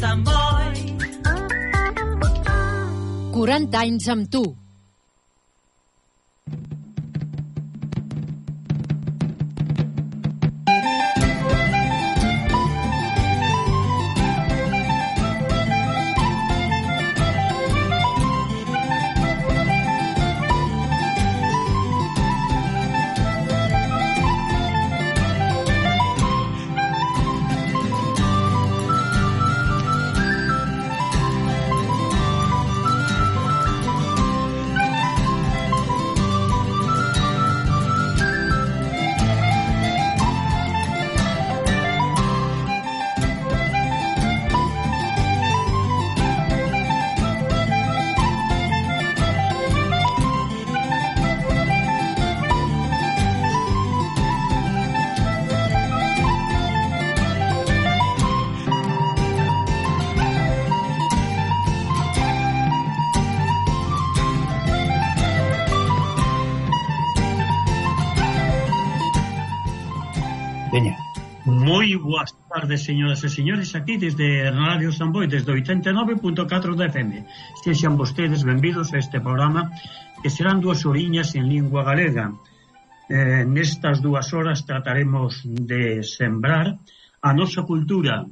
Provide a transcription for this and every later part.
Sant Boi. 40 anys amb tu. Moi boas tardes, señoras e señores, aquí desde Radio San Boi, desde 89.4 da FM. Sexan vostedes benvidos a este programa que serán 2 horiñas en lingua galega. Nestas 2 horas trataremos de sembrar a nosa cultura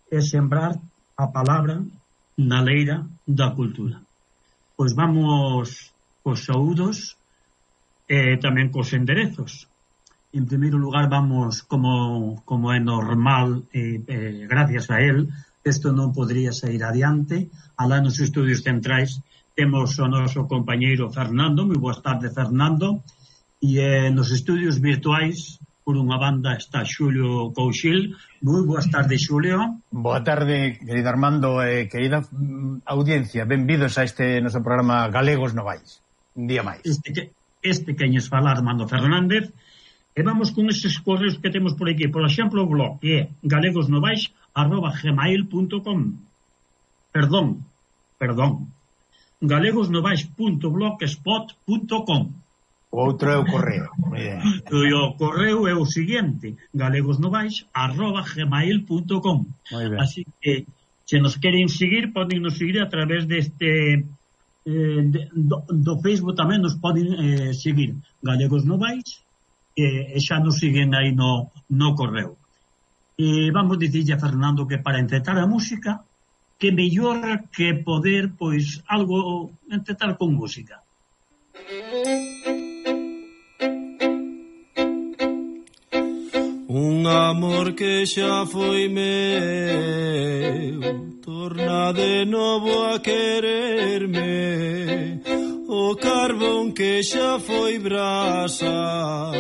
e sembrar a palabra na leira da cultura. Pois vamos cos saúdos e tamén cos enderezos. En primeiro lugar vamos, como é normal, gracias a él, isto non podría sair adiante. Alá nos estudios centrais temos o noso compañeiro Fernando. Moi boas tardes, Fernando. E nos estudios virtuais, por unha banda, está Xulio Couchil. Moi boas tardes, Xulio. Boa tarde, querido Armando, querida audiencia. Benvidos a este noso programa Galegos Novais. Un día máis. Este queñes falar, Armando Fernández. E vamos con eses correos que temos por aquí. Por exemplo, o blog, que é galegosnovais@gmail.com. Perdón. galegosnovais.blogspot.com. Outro é o correo. O correo é o seguinte: galegosnovais@gmail.com. Así que, se nos queren seguir, poden nos seguir a través deste do Facebook. Tamén nos poden seguir Galegos Novais, e xa nos siguen aí no correo. E vamos dicirlle a Fernando que para encetar a música, que mellor que poder, pois, algo encetar con música. Un amor que xa foi meu torna de novo a quererme. O carbón que xa foi brasa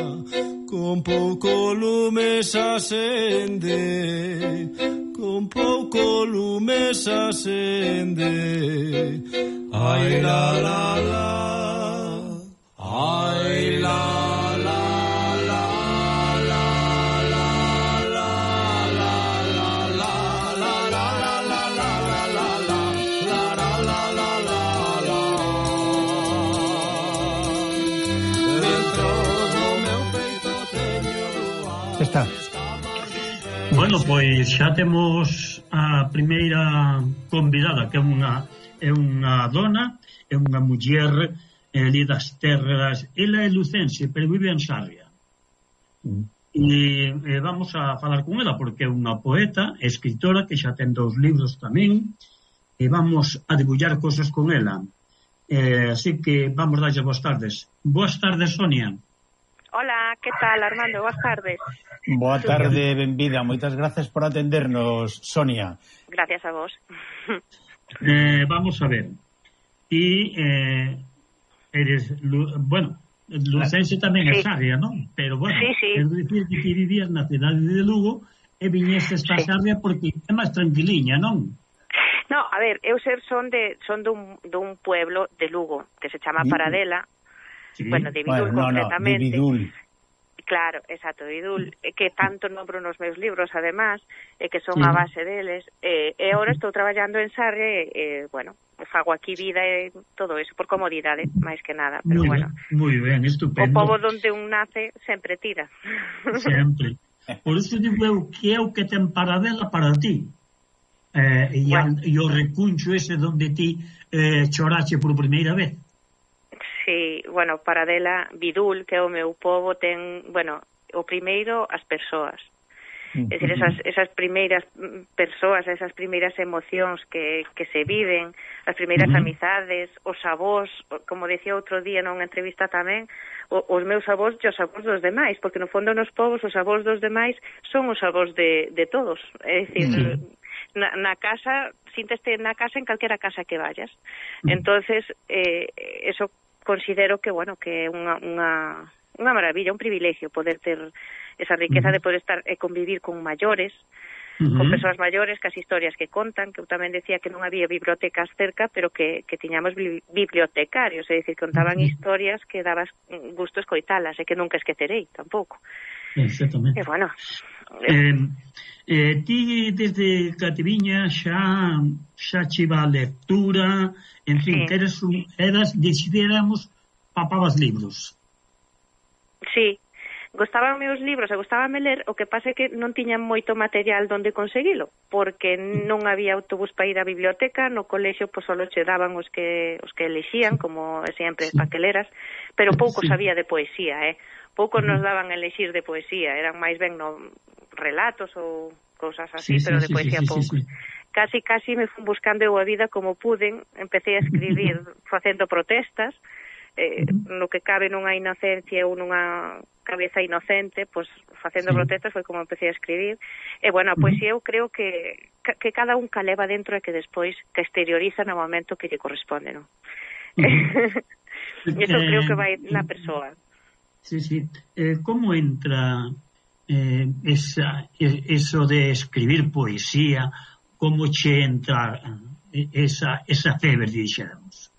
con pouco lume se acende, con pouco lume se acende. Ai la la la, ai la la la la la la la la Está. Bueno, pois xa temos a primeira convidada, que é unha dona, é unha muller ali das terras. Ela é lucense, pero vive en Sarria. E vamos a falar con ela porque é unha poeta, escritora, que xa ten 2 libros tamén, e vamos a debullar cosas con ela. Así que vamos darlle boas tardes. Boas tardes, Sonia. Hola, que tal, Armando? Boas tardes. Boa tarde, benvida. Moitas gracias por atendernos, Sonia. Gracias a vos. Vamos a ver. Ti eres, bueno, lucense tamén é Sarria, non? Pero, bueno, sí. é dicir que vivías na cidade de Lugo e viñeste esta Sarria porque é máis tranquiliña, non? No, a ver, eu son dun pueblo de Lugo que se chama Paradela. Sí. Bueno, de Vidul concretamente. De Vidul. Claro, exacto, Vidul, que tanto nombro nos meus libros, además, que son a base deles. E agora estou traballando en Sarre, bueno, fago aquí vida e todo eso, por comodidade, máis que nada. Pero moi ben, estupendo. O pobo donde un nace sempre tira. Sempre. Por iso digo eu que é o que ten Paradela para ti. E o recuncho ese donde ti chorache por primeira vez. Sí, bueno, para dela, Vidul, que é o meu pobo, ten, bueno, o primeiro, as persoas. É dicir, esas primeiras persoas, esas primeiras emocións que se viven, as primeiras amizades, os avós, como decía outro día nunha entrevista tamén, os meus avós e os avós dos demais, porque no fondo nos povos os avós dos demais son os avós de todos. É dicir, na casa, sínteste na casa en calquera casa que vayas. Entonces, eso considero que, bueno, que é unha maravilla, un privilegio poder ter esa riqueza de poder estar e convivir con maiores, con persoas maiores, que as historias que contan, que eu tamén decía que non había bibliotecas cerca, pero que tiñamos bibliotecarios, é dicir, contaban historias que dabas gusto escoitalas e que nunca esquecerei, tampouco. Exactamente. E bueno... ti desde Cativiña xa chiva a lectura, en fin, que eras, decidéramos, papabas libros. Sí, gostábanme os libros e gostábame ler, o que pasa é que non tiñan moito material donde conseguilo, porque non había autobús para ir á biblioteca, no colexio pois só che daban os que elexían, como sempre para que leras, pero pouco sabía de poesía, pouco nos daban a elexir de poesía, eran máis ben relatos ou cousas así, pero de poesía pouco. Casi me fui buscando eu a vida como puden, empecé a escribir facendo protestas, no que cabe nunha inocencia ou nunha cabeza inocente, pois facendo protestas foi como empecé a escribir. E bueno, a poesía eu creo que cada un caleva dentro e que despois que exterioriza no momento que lle corresponde, non? Eso creo que vai na persoa. Sí. Como entra eso de escribir poesía, como che entra esa febre, dixéramos?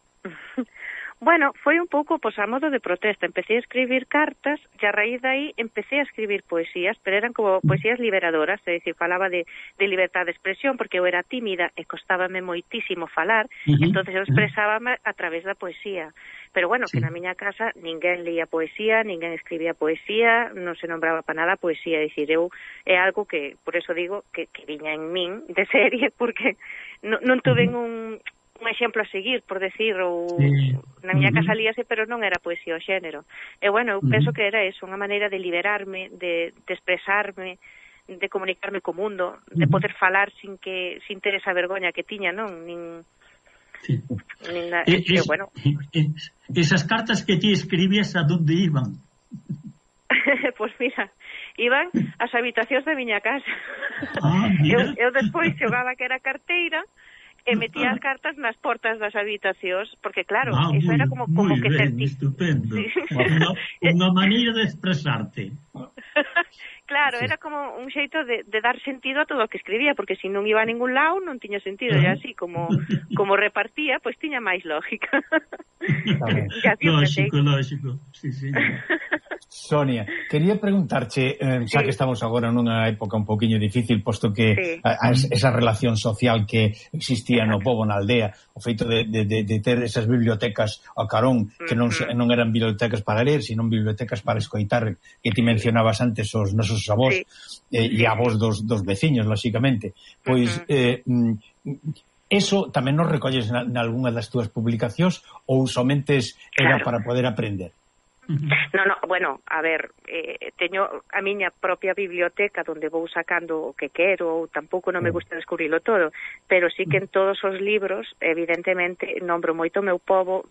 Bueno, foi un pouco pois a modo de protesta. Empecé a escribir cartas e a raíz de aí empecé a escribir poesías, pero eran como poesías liberadoras, é dicir, falaba de libertad de expresión, porque eu era tímida e costábame moitísimo falar, entonces eu expresábame a través da poesía. Pero bueno, que na miña casa ninguén leía poesía, ninguén escribía poesía, non se nombraba para nada poesía, é dicir, eu é algo que, por eso digo, que viña en min de serie, porque non tuve un exemplo a seguir, por decir, ou na miña casa líase, pero non era poesía o xénero. E bueno, eu penso que era eso, unha maneira de liberarme, de expresarme, de comunicarme co mundo, de poder falar sin ter esa vergoña que tiña, non? Bueno. Esas cartas que ti escribías, a donde iban? Pois mira, iban ás habitacións da miña casa. Eu despois xogaba que era carteira e metía as cartas nas portas das habitacións, porque claro, eso era como que sentí. Estupendo. Unha maneira de expresarte. Claro, era como un xeito de dar sentido a todo o que escribía, porque se non iba a ningún lado non tiña sentido, e así como repartía, pois tiña máis lógica. Lógico, sí. Sonia, quería preguntarche, xa que estamos agora nunha época un poquinho difícil, posto que esa relación social que existía no pobo, na aldea, o feito de ter esas bibliotecas a carón, que non eran bibliotecas para ler, sino bibliotecas para escoitar, que ti mencionabas antes os nosos avós e avós dos veciños, lóxicamente. Pois eso tamén nos recolles nalgúna das túas publicacións ou somente era para poder aprender? No, bueno, a ver, teño a miña propia biblioteca onde vou sacando o que quero, ou tampouco non me gusta descubrilo todo, pero sí que en todos os libros, evidentemente, nombro moito o meu pobo,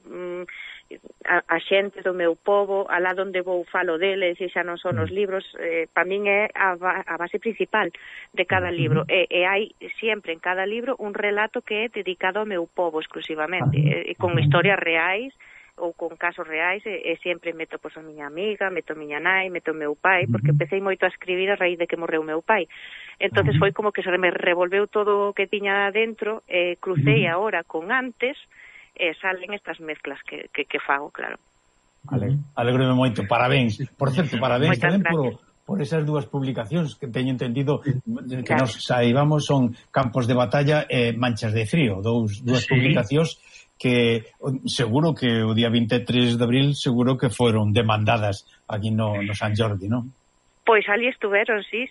a xente do meu pobo, alá onde vou falo dele, xa non son os libros, para min é a base principal de cada libro, e hai sempre en cada libro un relato que é dedicado ao meu pobo exclusivamente, con historias reais, ou con casos reais, e sempre meto pois a miña amiga, meto a miña nai, meto o meu pai, porque empecé moito a escribir a raíz de que morreu o meu pai. Entonces foi como que se me revolveu todo o que tiña dentro, crucei agora con antes, e salen estas mezclas que fago, claro. Vale, alegro-me moito, parabéns. Por certo, parabéns tamén por esas dúas publicacións que teño entendido que nos saibamos son Campos de Batalla e Manchas de Frío, dúas publicacións que seguro que o día 23 de abril seguro que foron demandadas aquí no San Jordi, non? Pois ali estuveron, sí.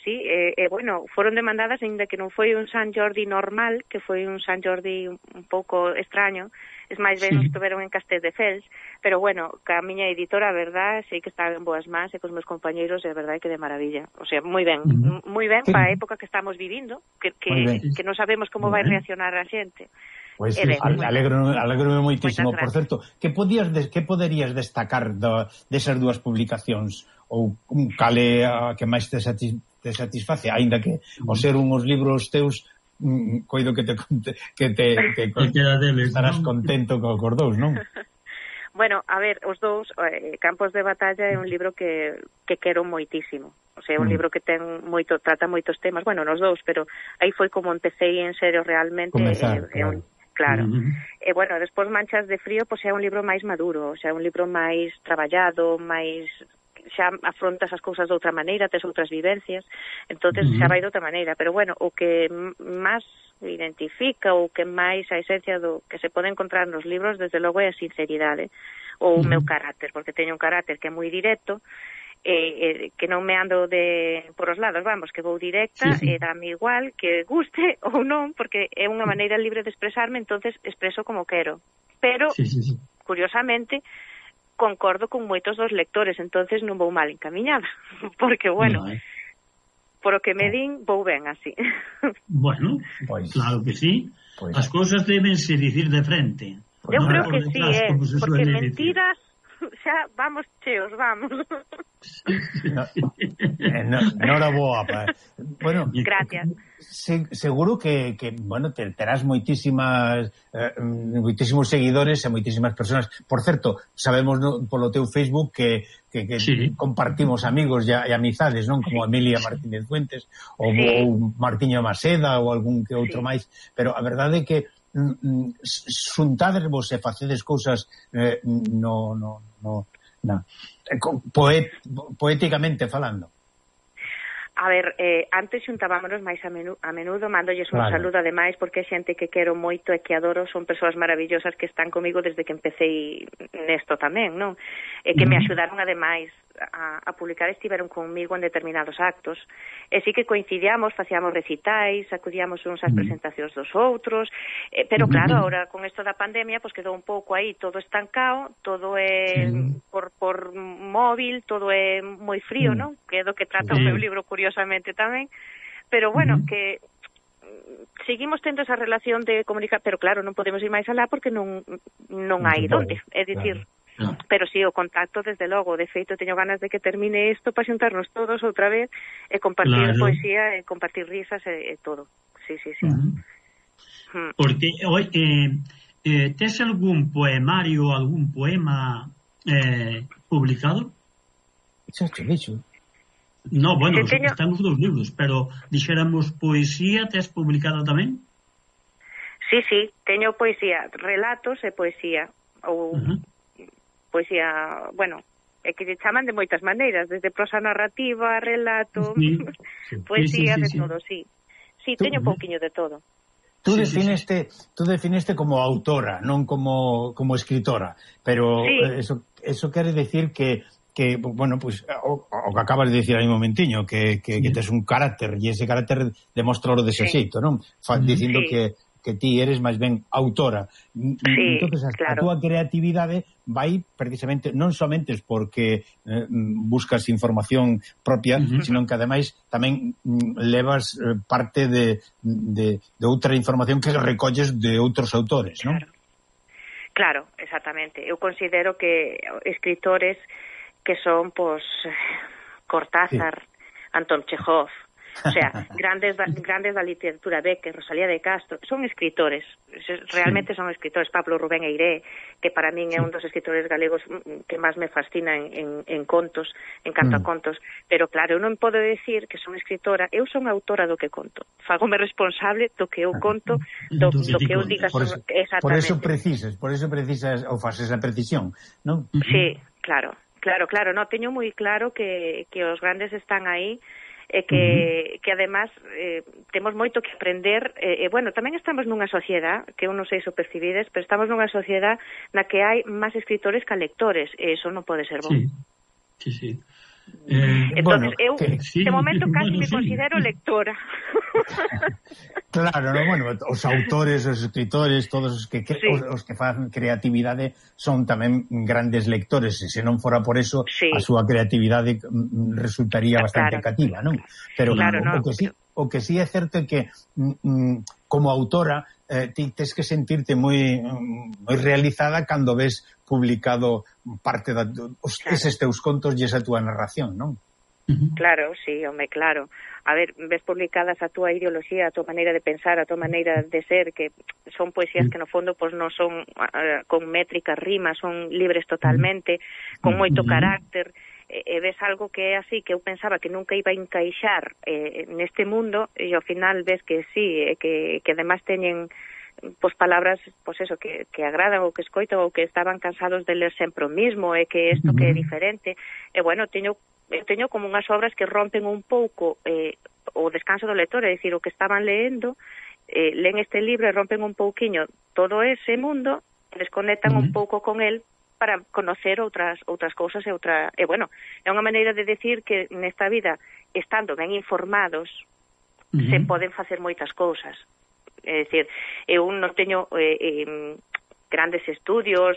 Bueno, foron demandadas, ainda que non foi un San Jordi normal, que foi un San Jordi un pouco extraño, es máis ben estuveron en Castelldefels, pero bueno, ca miña editora, a verdad, sei que estaba en boas mans e cos meus compañeiros, é verdade que de maravilla. O sea, moi ben para a época que estamos vivindo, que non sabemos como vai reaccionar a xente. Pois alegro moitísimo. Por certo, que poderías destacar desas dúas publicacións? Ou cale a que máis te satisface, aínda que ao ser unhos libros teus coido que estarás contento cos dous, non? Bueno, a ver, os dous, Campos de Batalla é un libro que quero moitísimo. O sea, é un libro que trata moitos temas, bueno, nos dous, pero aí foi como empecé en serio realmente. Claro. E bueno, despois Manchas de Frío, pois é un libro máis maduro, o sea, un libro máis traballado, máis xa afrontas as cousas de outra maneira, tes outras vivencias, entonces xa vai de outra maneira, pero bueno, o que máis identifica, o que máis a esencia do que se pode encontrar nos libros, desde logo é a sinceridade, ou o meu carácter, porque teño un carácter que é moi directo, que non me ando por os lados, vamos, que vou directa, e dame igual que guste ou non, porque é unha maneira libre de expresarme, entonces expreso como quero, pero curiosamente concordo con moitos dos lectores, entonces non vou mal encamiñada, porque, bueno, por o que me din, vou ben así. Bueno, pues, claro que sí. Pues, as cousas debense dicir de frente. Eu creo que sí, porque mentiras xa vamos cheos, vamos. Nora boa, bueno, gracias. Seguro que bueno, terás moitísimos seguidores e moitísimas persoas. Por certo, sabemos polo teu Facebook que compartimos amigos e amizades, non? Como Emilia Martínez Fuentes ou Martiño Maseda ou algún que outro máis, pero a verdade é que xuntadevos e facedes cousas poéticamente falando. A ver, antes xuntábamos máis a menudo, mandolles un saludo ademais, porque é xente que quero moito e que adoro, son persoas maravillosas que están comigo desde que empecé nesto tamén, non? E que me axudaron ademais a publicar, estiveron comigo en determinados actos, e sí que coincidíamos, facíamos recitais, acudíamos uns ás presentacións dos outros, pero claro, ahora con isto da pandemia, pues quedou un pouco aí todo estancado, todo é por móvil, todo é moi frío, non? Que é do que trata o meu libro, curiosamente tamén, pero bueno, que seguimos tendo esa relación de comunicar, pero claro, non podemos ir máis alá porque non hai donde, é dicir, pero sí, o contacto desde logo, de feito teño ganas de que termine isto para xuntarnos todos outra vez e compartir poesía e compartir risas e todo. Sí. Porque tes algún poemario, algún poema publicado? Dixo. No, bueno, están os dous libros, pero dixéramos poesía, tes publicada tamén? Sí, teño poesía, relatos e poesía, ou poesía, bueno, é que lle chaman de moitas maneiras, desde prosa narrativa, relato, poesía, de todo, sí. Sí, teño un pouquiño de todo. Tú definiste como autora, non como escritora, pero eso quere decir que bueno, pues o que acabas de decir aí un momentiño, que tes un carácter, e ese carácter demostra o dese xeito, non? Dicindo que ti eres máis ben autora. Entonces, a túa creatividade vai precisamente non somente porque buscas información propia, sino que ademais tamén levas parte de outra información que recolles de outros autores, non? Claro, exactamente. Eu considero que escritores que son, pues, Cortázar, Anton Chekhov, o sea, grandes da literatura, Becker, Rosalía de Castro, son escritores, realmente son escritores. Pablo Rubén Eiré, que para min é un dos escritores galegos que máis me fascina en contos, en canto a contos, pero claro, eu non podo decir que son escritora, eu son autora do que conto, fagome responsable do que eu conto, do que eu diga. Por eso precisas ou faces a precisión, non? Sí, claro, no, teño moi claro que os grandes están aí, e que además temos moito que aprender, bueno, tamén estamos nunha sociedade que eu non sei se o percibides, pero estamos nunha sociedade na que hai máis escritores que lectores, e iso non pode ser bon. Sí. Entonces, eu, sí, de momento, casi me sí. considero lectora. Claro, no, bueno, os autores, os escritores, todos os que os que fan creatividade son tamén grandes lectores, e se non fora por eso, a súa creatividade resultaría bastante cativa, non? Pero o que sí é certo é que como autora ti tes que sentirte moi realizada cando ves publicado parte eses teus contos e esa túa narración, non? Claro, sí, home, claro. A ver, ves publicadas a túa ideoloxía, a túa maneira de pensar, a túa maneira de ser, que son poesías que no fondo pues, non son con métricas, rimas, son libres totalmente, con moito carácter, e ves algo que é así, que eu pensaba que nunca iba a encaixar neste mundo, e ao final ves que sí, que además teñen pois palabras, pois eso, que agradan ou que escoitan ou que estaban cansados de ler sempre o mismo, e que isto que é diferente, e bueno, teño como unhas obras que rompen un pouco o descanso do lector, é dicir, o que estaban leendo, leen este libro e rompen un pouquiño todo ese mundo e desconectan un pouco con el para conocer outras cousas e bueno, é unha maneira de decir que nesta vida, estando ben informados, se poden facer moitas cousas. É dicir, eu non teño grandes estudios,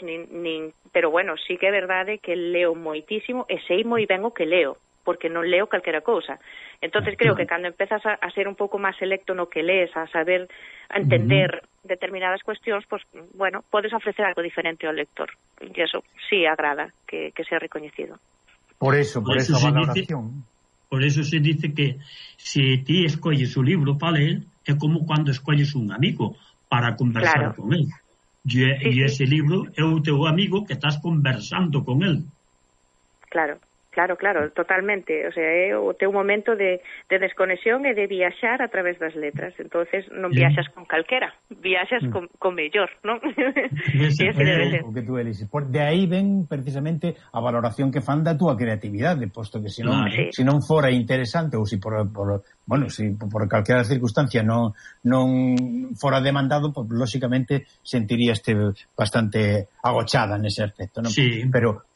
pero bueno, sí que é verdade que leo moitísimo e sei moi ben o que leo, porque non leo calquera cousa. Entonces creo que cando empezas a ser un pouco máis selecto no que lees, a saber, a entender determinadas cuestións, pues, bueno, podes ofrecer algo diferente ao lector. E eso sí agrada que sea recoñecido. Por esa valoración. Por eso se dice que se ti escolles o libro para ler, é como cando escolles un amigo para conversar con él. E ese libro é o teu amigo que estás conversando con él. Claro, totalmente. O sea, é o teu momento de desconexión e de viaxar a través das letras. Entonces non viaxas con calquera, viaxas con mellor, non? O que tú eliges. De aí ven precisamente a valoración que fan da túa creatividade, posto que se non fora interesante ou se por calquera circunstancia non fora demandado, pues, lóxicamente sentiríaste bastante agochada nese aspecto, non? Sí. Pero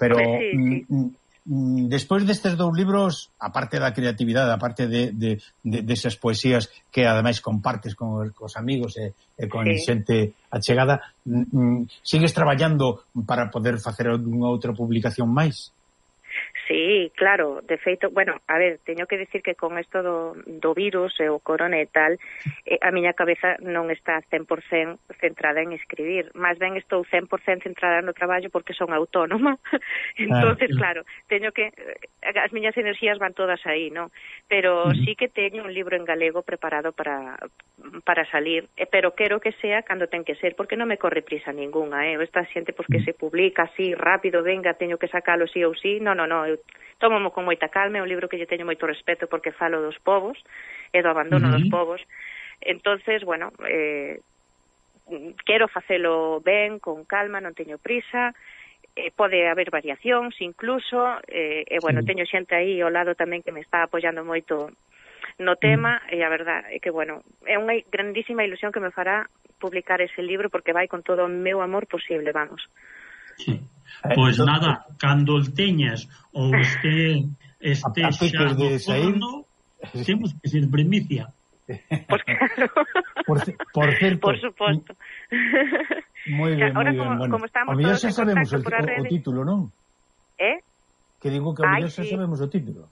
despois destes dous libros, aparte da creatividade, aparte desas poesías que ademais compartes con os amigos e con xente achegada, sigues traballando para poder facer unha outra publicación máis? Sí, claro, de feito, bueno, a ver, teño que decir que con isto do virus e o corona e tal, a miña cabeza non está 100% centrada en escribir, máis ben estou 100% centrada no traballo porque son autónoma. Entonces, claro, teño que as miñas enerxías van todas aí, non? Pero sí que teño un libro en galego preparado para salir, pero quero que sea cando ten que ser, porque non me corre prisa ningunha, esta xente pois que se publica así rápido, venga, teño que sacalo sí ou sí, non, eu tómamo con moita calma, é un libro que lle teño moito respeto porque falo dos povos e do abandono dos povos. Entonces, bueno, quero facelo ben, con calma, non teño prisa, pode haber variacións incluso, bueno, teño xente aí ao lado tamén que me está apoiando moito no tema, e a verdade é que, bueno, é unha grandísima ilusión que me fará publicar ese libro porque vai con todo o meu amor posible, vamos. Sí. Pois nada, cando el teñas ou este xa no forno, temos que ser primicia. Pois claro. Por certo. Por suposto. Moi ben, moi ben. Como estamos todos en sabemos contacto o título, non? Que digo que a xa sabemos o título.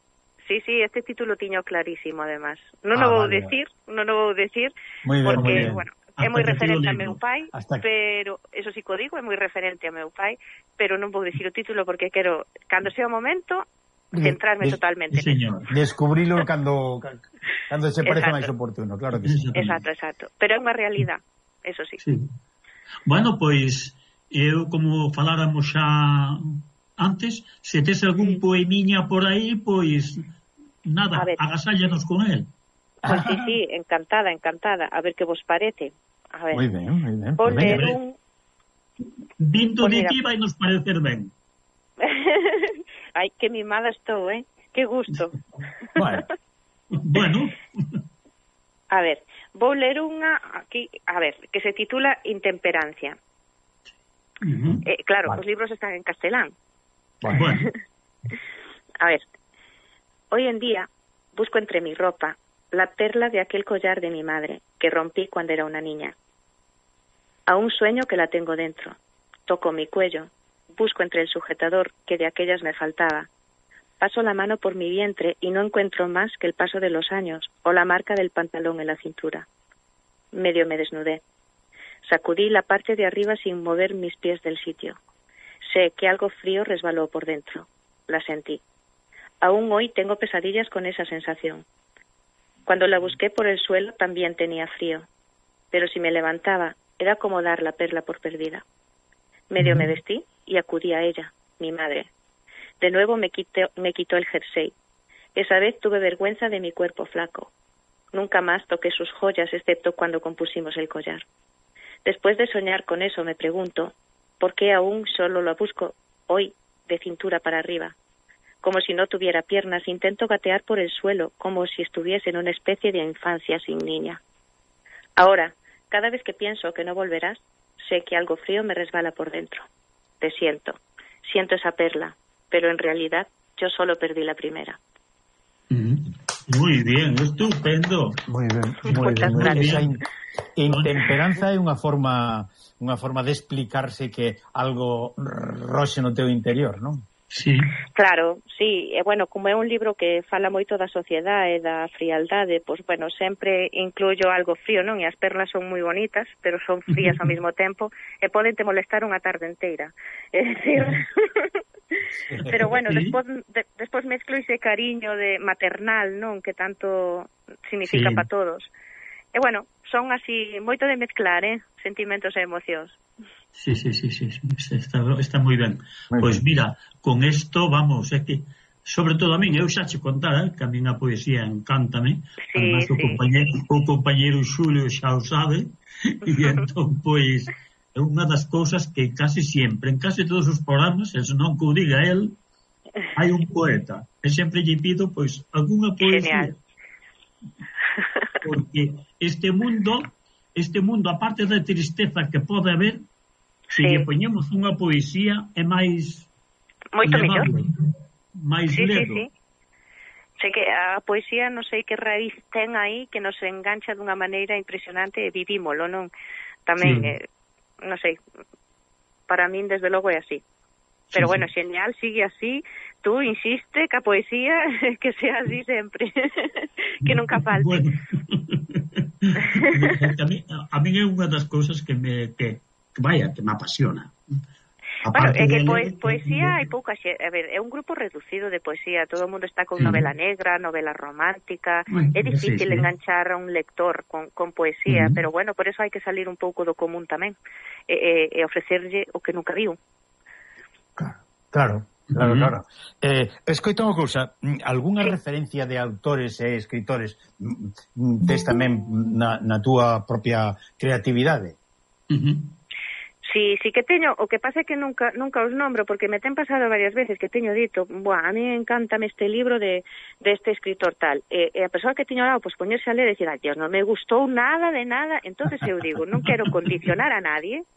Sí, este título tiño clarísimo, además. Non o vou decir, porque, bueno, é moi referente a meu pai, pero eso sí que o digo, é moi referente a meu pai, pero non vou dicir o título porque quero, cando sea o momento, centrarme totalmente. Descubrilo cando se parece máis oportuno, claro que sí. Exacto. Pero é unha realidade, eso sí. Bueno, pois, eu como faláramos xa antes, se tes algún poemiña por aí, pois, nada, agasállanos con él. Pois sí, encantada, a ver que vos parece. A ver, moi ben. Vou ler un... Vindo de ti vai nos parecer ben. Ai, que mimada estou, que gusto. Bueno. A ver, vou ler unha aquí, a ver, que se titula Intemperancia. Claro, os libros están en castelán. Bueno. A ver, Hoy en día busco entre mi ropa la perla de aquel collar de mi madre que rompí cuando era una niña. Aún sueño que la tengo dentro. Toco mi cuello, busco entre el sujetador que de aquellas me faltaba. Paso la mano por mi vientre y no encuentro más que el paso de los años o la marca del pantalón en la cintura. Medio me desnudé. Sacudí la parte de arriba sin mover mis pies del sitio. Sé que algo frío resbaló por dentro. La sentí. Aún hoy tengo pesadillas con esa sensación. Cuando la busqué por el suelo también tenía frío, pero si me levantaba era como dar la perla por perdida. Medio me vestí y acudí a ella, mi madre. De nuevo me quitó el jersey. Esa vez tuve vergüenza de mi cuerpo flaco. Nunca más toqué sus joyas excepto cuando compusimos el collar. Después de soñar con eso me pregunto, ¿por qué aún solo lo busco hoy de cintura para arriba? Como si no tuviera piernas, intento gatear por el suelo, como si estuviese en una especie de infancia sin niña. Ahora, cada vez que pienso que no volverás, sé que algo frío me resbala por dentro. Te siento esa perla, pero en realidad yo solo perdí la primera. Muy bien, estupendo. Moi ben. Esa intemperanza é unha forma de explicarse que algo roxe no teu interior, non? Sí. Claro, sí, e bueno, como é un libro que fala moito da sociedade e da frialdade, pois bueno, sempre incluyo algo frío, non? E as perlas son moi bonitas, pero son frías ao mesmo tempo e poden te molestar unha tarde inteira. É dicir, pero bueno, despois mezclo ese cariño de maternal, non? Que tanto significa para todos. E bueno, son así moito de mezclar, sentimentos e emocións. Sí, está moi ben. Pois mira, con isto vamos, é que sobre todo a min, eu xa che contara que a min a poesía encántame, además o compañeiro Xulio xa o sabe, e entón pois é unha das cousas que casi sempre, en casi todos os programas, se non que o diga el, hai un poeta, e sempre lle pido pois algunha poesía. Genial. Porque este mundo, aparte da tristeza que pode haber, se lle poñemos unha poesía é máis moito mellor, máis ledo. Sí. Sei que a poesía non sei que raíz ten aí que nos engancha dunha maneira impresionante e vivímolo, non? Tamén, non sei, para min desde logo é así. Pero bueno, xeñal, sigue así, tú insiste que a poesía que sea así sempre, que nunca falte. Bueno. A mí é unha das cousas que me apasiona. Bueno, é que poesía hai pouca xente. A ver, é un grupo reducido de poesía. Todo o mundo está con novela negra, novela romántica. É difícil enganchar a un lector con poesía, pero bueno, por eso hai que salir un pouco do común tamén e ofrecerlle o que nunca viu. Claro. Escoita unha cousa, algunha referencia de autores e escritores tes tamén na túa propia creatividade? Sí que teño, o que pasa é que nunca os nombro, porque me ten pasado varias veces que teño dito, a mí encántame este libro de este escritor tal, e a persoa que teño ao lado, poñerse a ler e dicir, Dios, non me gustou nada de nada, entonces eu digo, non quero condicionar a nadie,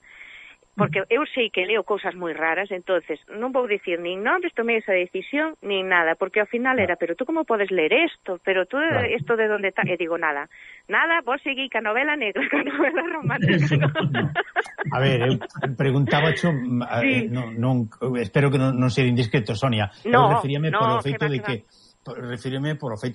porque eu sei que leo cousas moi raras, entonces non vou dicir nin nombres, tomei esa decisión, nin nada, porque ao final era, pero tú como podes ler isto? Pero tú isto de onde está? E digo, nada, vos seguí ca novela negra, ca novela romántica. A ver, eu preguntaba espero que non sea indiscreto, Sonia. Eu referíame polo feito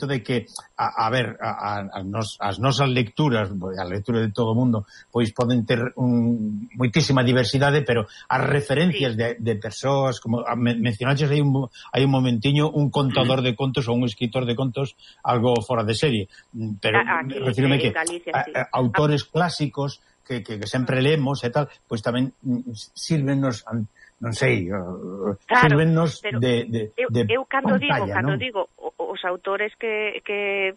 de que a ver, as nosas lecturas, a lectura de todo o mundo, pois poden ter moitísima diversidade, pero as referencias de persoas, como mencionaches hai un momentiño, un contador de contos ou un escritor de contos, algo fora de serie, pero refírome que autores clásicos que sempre leemos e tal, pois tamén sírvenos, non sei, sírvenos de eu cando pantalla, digo os autores que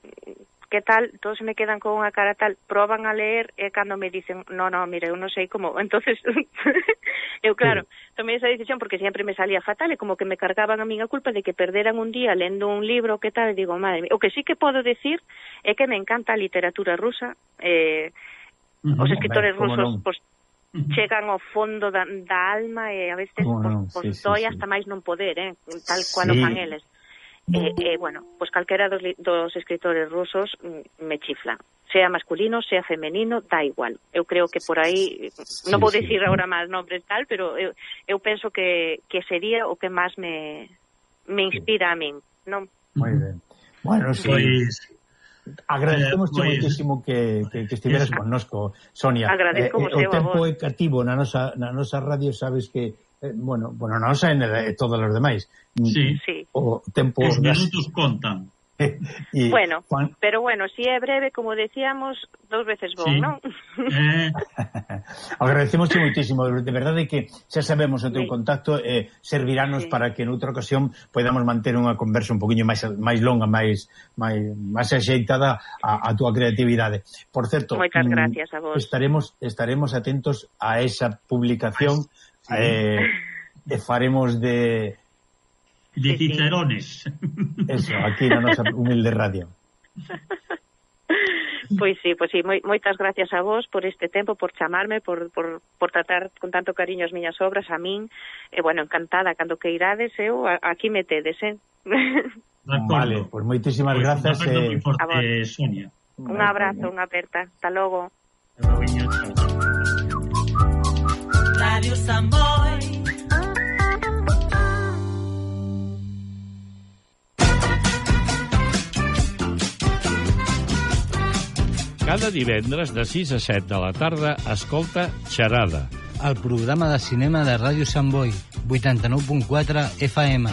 tal, todos me quedan con unha cara tal, proban a leer e cando me dicen, no, mira, eu non sei como, entonces eu tomei esa decisión porque sempre me salía fatal e como que me cargaban a min a culpa de que perderan un día lendo un libro, que tal, e digo, madre mía, o que sí que podo decir é que me encanta a literatura rusa, os escritores rusos, pois chegan ao fondo da alma e a veces doi hasta máis non poder, tal cual o fan eles. bueno, pois calquera dos escritores rusos me chifla. Sea masculino, sea femenino, da igual. Eu creo que por aí, non vou dicir agora máis nombres tal, pero eu penso que sería o que máis me inspira a min, non? Moi ben. Bueno, sí. Agradecemos moitísimo que estiveras connosco, Sonia. Agradezco o tempo é cativo na nosa radio, sabes que bueno, na nosa e todos os demais. Sí. O tempo os minutos contan. Bueno, pero bueno, si é breve, como decíamos, 2 veces bon, non? Agradecemos moitísimo, de verdade que xa sabemos o teu contacto, servirános para que noutra ocasión podamos manter unha conversa un poquinho máis longa, máis axeitada a túa creatividade. Por certo, moitas gracias a vos. Estaremos atentos a esa publicación e faremos de Cicerones. Eso, aquí na nosa humilde radio. Pois sí, moitas gracias a vos por este tempo, por chamarme, por tratar con tanto cariño as miñas obras, a min, e bueno, encantada, cando que irades, eu aquí me tedes, Vale, pois moitísimas grazas. Sonia. Un abrazo, unha aperta, hasta logo. Radio Samboy. Cada divendres de 6 a 7 de la tarda escolta Xerada. El programa de cinema de Ràdio Sant Boi, 89.4 FM.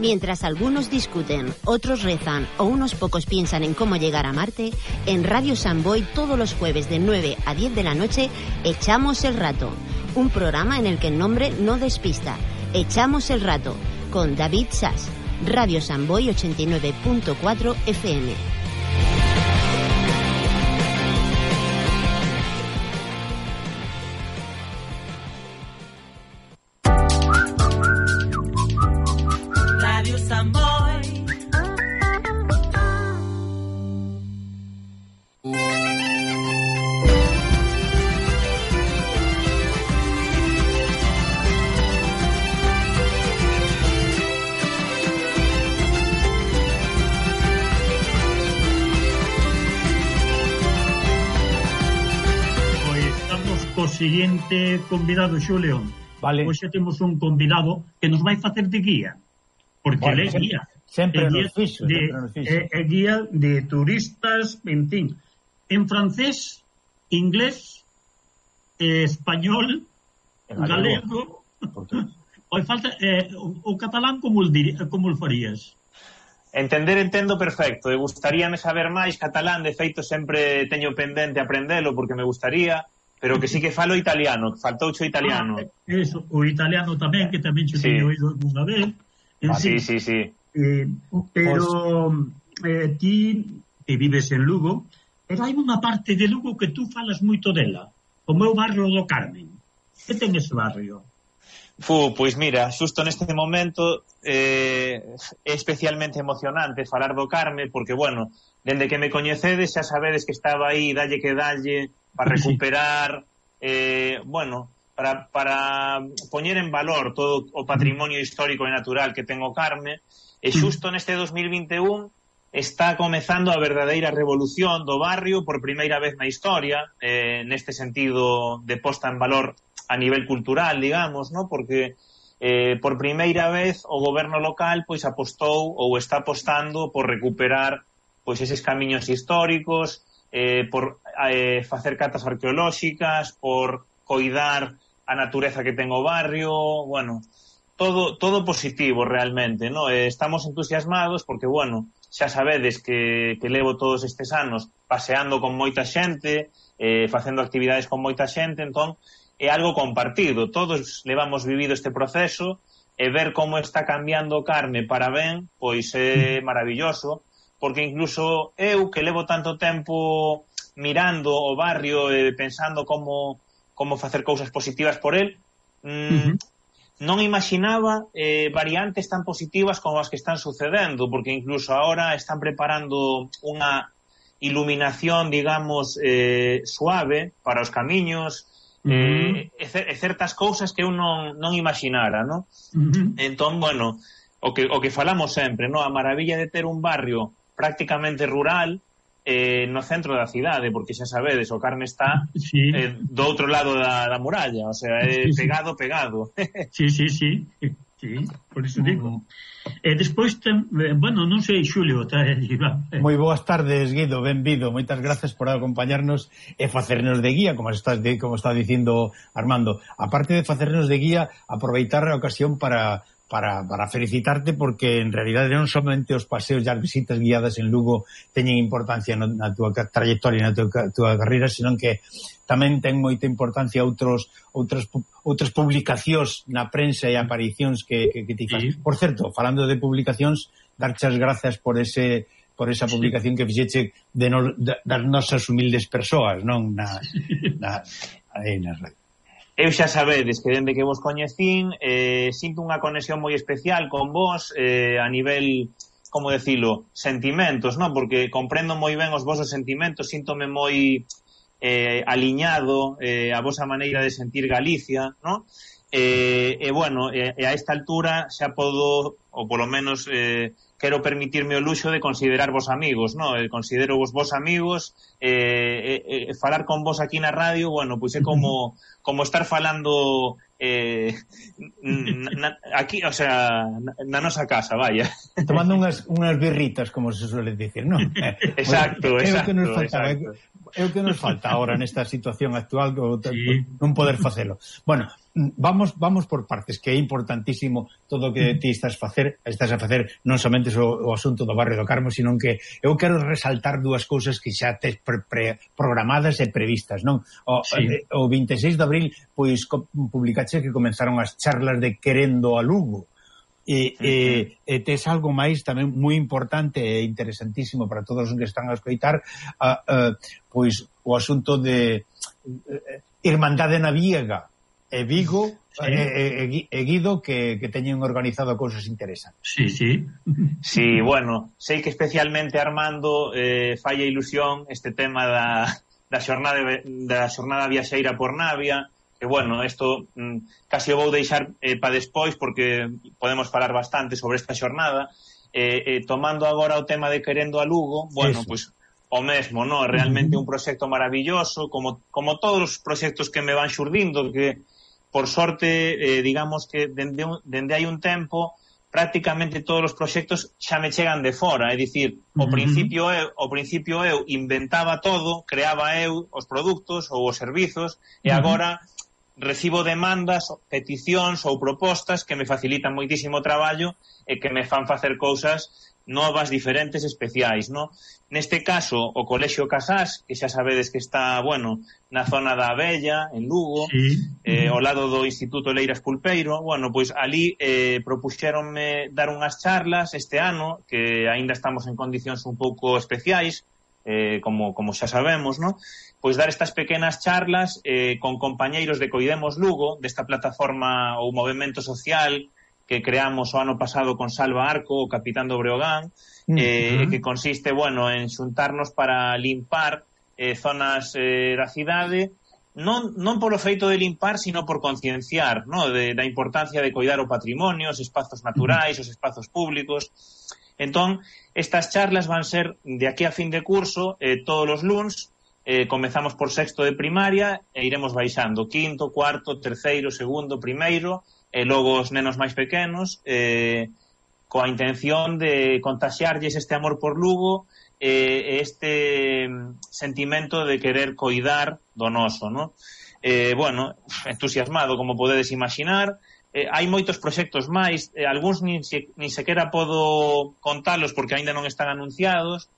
Mientras algunos discuten, otros rezan o unos pocos piensan en cómo llegar a Marte, en Radio Sant Boi todos los jueves de 9 a 10 de la noche, Echamos el Rato, un programa en el que el nombre no despista. Echamos el Rato, con David Sass, Radio Sant Boi 89.4 FM. Siguiente convidado, Xulio. Vale. Hoxe temos un convidado que nos vai facer de guía. Porque ele é guía. Sempre nos fixo. É guía de turistas, en fin, en francés, inglés, español, galego. Oi, falta o catalán como o farías? Entendo perfecto. E gustaríame saber máis catalán, de feito sempre teño pendente aprendelo porque me gustaría. Pero que sí que falo italiano, que faltouche o italiano. Eso, o italiano tamén, que tamén che teño oído alguna vez. Sí. Pero ti que vives en Lugo, pero hai unha parte de Lugo que tú falas moito dela, como é o barrio do Carmen. Que ten ese barrio? Pois mira, xusto neste momento é especialmente emocionante falar do Carme, porque, bueno, dende que me coñecedes xa sabedes que estaba aí, dalle que dalle, para recuperar, bueno, para poñer en valor todo o patrimonio histórico e natural que ten o Carme, e xusto neste 2021 está comezando a verdadeira revolución do barrio por primeira vez na historia, neste sentido de posta en valor a nivel cultural, digamos, ¿no? Porque por primeira vez o goberno local pois apostou ou está apostando por recuperar pois eses camiños históricos, por facer catas arqueolóxicas, por coidar a natureza que ten o barrio, bueno, todo positivo realmente, ¿no? Estamos entusiasmados porque, bueno, xa sabedes que levo todos estes anos paseando con moita xente, facendo actividades con moita xente, entón é algo compartido, todos levamos vivido este proceso e ver como está cambiando o Carme para ben, pois é maravilloso, porque incluso eu, que levo tanto tempo mirando o barrio e pensando como facer cousas positivas por el, non imaginaba variantes tan positivas como as que están sucedendo, porque incluso ahora están preparando unha iluminación, digamos, suave para os camiños, certas cousas que eu non imaginara, non? Entón, bueno, o que falamos sempre, non? A maravilla de ter un barrio prácticamente rural no centro da cidade, porque xa sabedes, o Carme está do outro lado da muralla, o sea, pegado. Sí, por iso digo. Despois, bueno, non sei, Xulio, moi boas tardes, Guido, benvido, moitas grazas por acompañarnos e facernos de guía, como está dicindo Armando. Aparte de facernos de guía, aproveitar a ocasión para felicitarte, porque en realidade non somente os paseos e as visitas guiadas en Lugo teñen importancia na túa trayectoria, na túa carreira, senón que tamén ten moita importancia outras publicacións na prensa e aparicións que ti faz. Por certo, falando de publicacións, darche as grazas por esa publicación que fixeche das nosas humildes persoas, non? Aí nas redes. Eu xa sabedes que dende que vos coñecín sinto unha conexión moi especial con vos a nivel, como decilo, sentimentos, non? Porque comprendo moi ben os vosos sentimentos, síntome moi aliñado a vosa maneira de sentir Galicia, non? Bueno, a esta altura xa podo, ou polo menos quero permitirme o luxo de considerarvos amigos, non? Considero vos amigos, falar con vos aquí na radio, bueno, pois é como estar falando aquí, o sea, na nosa casa, vaya. Tomando unhas birritas, como se suele dicir, non? Exacto. É o que nos falta agora nesta situación actual, non poder facelo. Bueno, vamos por partes, que é importantísimo todo o que ti estás a facer non somente o asunto do barrio do Carmo, sino que eu quero resaltar dúas cousas que xa tes programadas e previstas, non? O 26 de abril, pois, publicaxe que comenzaron as charlas de Querendo a Lugo, e tes algo máis tamén moi importante e interesantísimo para todos os que están a escoitar, pois o asunto de Irmandade na Viega e Vigo e Guido, que teñen organizado cousas interesantes. Sí, bueno, sei que especialmente Armando falla ilusión este tema da xornada viaxeira por Navia, que, bueno, isto casi o vou deixar para despois, porque podemos falar bastante sobre esta xornada. Tomando agora o tema de Querendo a Lugo, bueno, pois o mesmo, non? Realmente un proxecto maravilloso, como todos os proxectos que me van xurdindo, que, por sorte, digamos que dende hai un tempo, prácticamente todos os proxectos xa me chegan de fora, é dicir, ao principio eu inventaba todo, creaba eu os produtos ou os servizos, e agora recibo demandas, peticións ou propostas que me facilitan moitísimo traballo e que me fan facer cousas novas, diferentes, especiais, non? Neste caso, o Colexio Casás, que xa sabedes que está, bueno, na zona da Abella, en Lugo, ao lado do Instituto Leiras Pulpeiro, bueno, pois ali propuxéronme dar unhas charlas este ano, que aínda estamos en condicións un pouco especiais, como xa sabemos, non? Pois dar estas pequenas charlas con compañeiros de Coidemos Lugo, desta plataforma ou movimento social que creamos o ano pasado con Salva Arco, o capitán do Breogán, que consiste, bueno, en xuntarnos para limpar zonas da cidade, non polo feito de limpar, sino por concienciar, ¿no?, da importancia de coidar o patrimonio, os espazos naturais, os espazos públicos. Entón, estas charlas van ser de aquí a fin de curso, todos os luns. Comezamos por sexto de primaria e iremos baixando quinto, cuarto, terceiro, segundo, primeiro, e logo os nenos máis pequenos, coa intención de contaxiarlles este amor por Lugo, este sentimento de querer coidar do noso, ¿no? Bueno, entusiasmado, como podedes imaginar. Hai moitos proxectos máis, algúns nin sequera podo contalos porque aínda non están anunciados,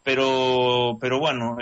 pero bueno,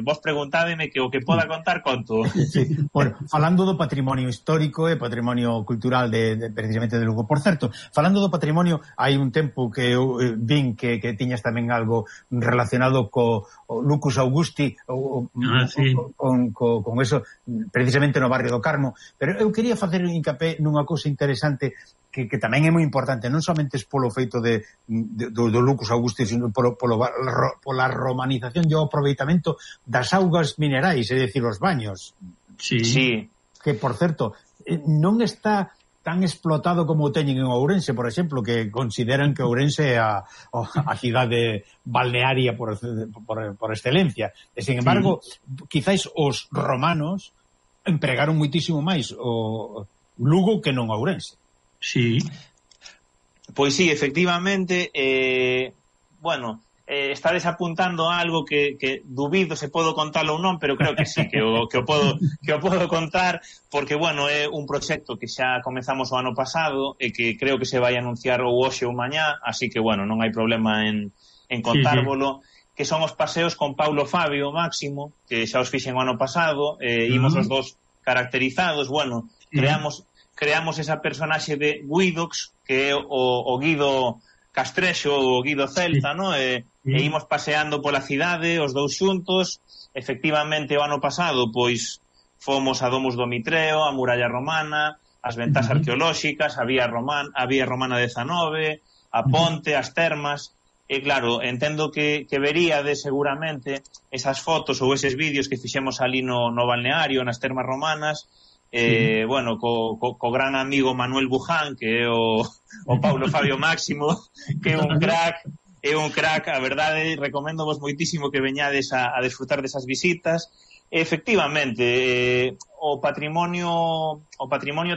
vos preguntádeme que o que poda contar conto. Sí. Bueno, falando do patrimonio histórico e patrimonio cultural precisamente de Lugo. Por certo, falando do patrimonio, hai un tempo que eu vin que tiñas tamén algo relacionado co Lucus Augusti sí. con eso, precisamente no barrio do Carmo, pero eu quería facer un hincapé nunha cousa interesante que tamén é moi importante, non somente polo feito do Lucus Augusti, sino pola romanización e o aproveitamento das augas minerais, é dicir, os baños. Sí. Que, por certo, non está tan explotado como o teñen en Ourense, por exemplo, que consideran que Ourense é a cidade balnearia por excelencia. E, sin embargo, quizáis os romanos empregaron moitísimo máis o Lugo que non Ourense. Sí. Pois sí, efectivamente, bueno, estades apuntando a algo que dubido se podo contalo ou non, pero creo que sí, que o podo contar, porque, bueno, é un proxecto que xa comezamos o ano pasado e que creo que se vai anunciar ou hoxe ou mañá, así que, bueno, non hai problema en contárvolo, que son os paseos con Paulo Fabio Máximo, que xa os fixen o ano pasado, imos os dos caracterizados, bueno, creamos esa personaxe de Guidox, que é o Guido Castrexo, o Guido Celta, no? E imos paseando pola cidade, os dous xuntos. Efectivamente, o ano pasado, pois, fomos a Domus do Mitreo, a Muralla Romana, as ventas arqueolóxicas, a Vía Romana 19, a Ponte, as termas. E, claro, entendo que veríades seguramente esas fotos ou eses vídeos que fixemos ali no balneario, nas termas romanas, bueno, co gran amigo Manuel Buján, que é o Paulo Fabio Máximo, que é un crack, a verdade, recomendo vos moitísimo que veñades a desfrutar desas visitas. Efectivamente, o patrimonio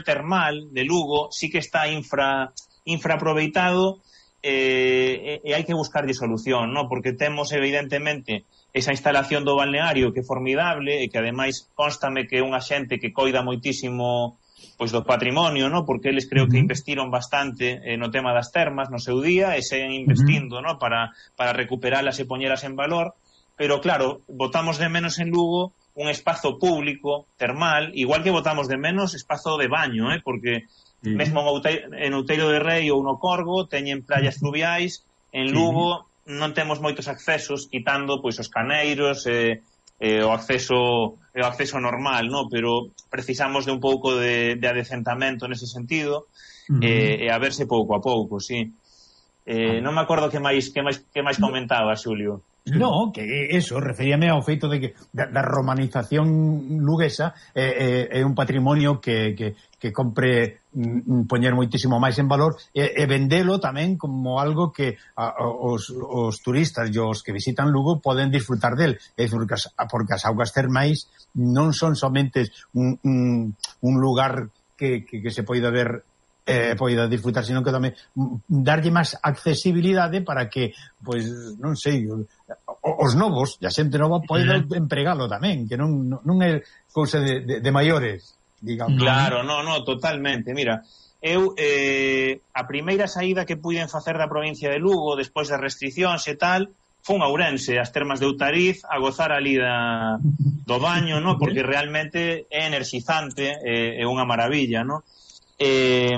termal de Lugo sí que está infraaproveitado, e hai que buscarlle solución, ¿no? Porque temos evidentemente esa instalación do balneario que é formidable e que ademais constame que é unha xente que coida moitísimo pois do patrimonio, ¿no? Porque eles creo que investiron bastante no tema das termas no seu día e seguen investindo, ¿no? Para recuperalas e poñelas en valor, pero claro, botamos de menos en Lugo un espazo público termal, igual que botamos de menos espazo de baño, porque mesmo en Outeiro de Rei ou no Corgo teñen playas fluviais, en Lugo non temos moitos accesos, quitando pois os caneiros o acceso normal, no? Pero precisamos de un pouco de adecentamento nese sentido, e a verse pouco a pouco, sí. Non me acordo que máis comentaba, Xulio. No, que eso, referíame ao feito de que da romanización luguesa é un patrimonio que compre poñer moitísimo máis en valor e vendelo tamén como algo que os turistas e os que visitan Lugo poden disfrutar del, porque as augas termais non son somente un lugar que se poida ver poida disfrutar, sino que tamén darlle máis accesibilidade para que, pois, non sei, os novos, e a xente nova poida empregalo tamén, que non é cousa de maiores, digamos. Claro, no, totalmente. Mira, eu a primeira saída que puiden facer da provincia de Lugo despois das restriccións e tal, fun a Ourense, as termas de Outariz, a gozar ali do baño, no? Porque realmente é energizante, é unha maravilla, no? E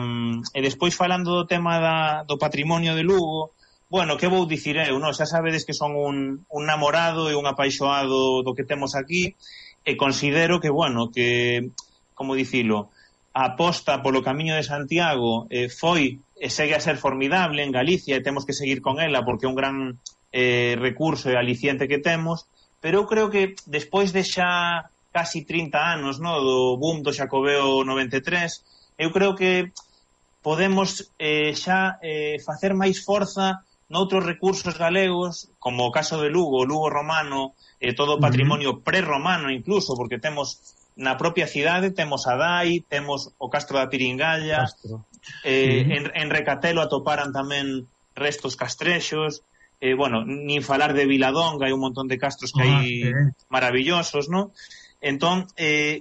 despois falando do tema do patrimonio de Lugo, bueno, que vou dicir eu, no? Xa sabedes que son un namorado e un apaixoado do que temos aquí, e considero que, bueno, que, como dicilo, a aposta polo Camiño de Santiago foi e segue a ser formidable en Galicia, e temos que seguir con ela porque é un gran recurso e aliciente que temos, pero eu creo que despois de xa casi 30 anos, no, do boom do Xacobeo 93, eu creo que podemos xa facer máis forza noutros recursos galegos, como o caso de Lugo, o Lugo romano, todo o patrimonio prerromano incluso, porque temos na propia cidade, temos a Dai, temos o Castro da Piringalla, en Recatelo atoparan tamén restos castrexos, bueno, nin falar de Viladonga, hai un montón de castros que hai maravillosos, non? Entón,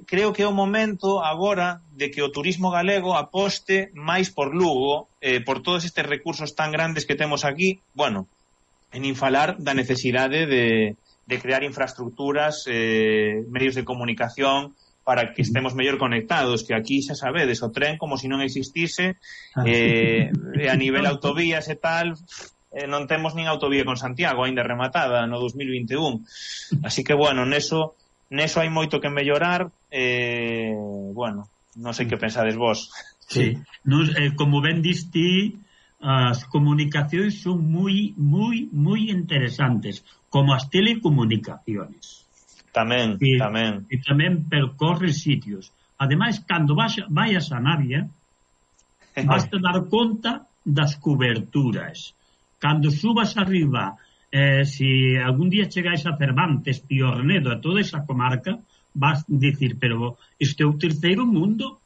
creo que é o momento agora de que o turismo galego aposte máis por Lugo, por todos estes recursos tan grandes que temos aquí. Bueno, e nin falar da necesidade de crear infraestructuras, medios de comunicación para que estemos mellor conectados, que aquí xa sabedes, o tren como se non existise, e a nivel autovías e tal, non temos nin autovía con Santiago aínda rematada no 2021. Así que, bueno, neso hai moito que mellorar, bueno, non sei que pensades vos. Sí, como ben diste, as comunicacións son moi interesantes, como as telecomunicaciones. Tamén. E tamén percorre sitios. Ademais, cando vayas a Navia, vas a dar conta das coberturas. Cando subas arriba, se algún día chegáis a Cervantes, Piornedo, a toda esa comarca, vas a dicir, pero este é o terceiro mundo,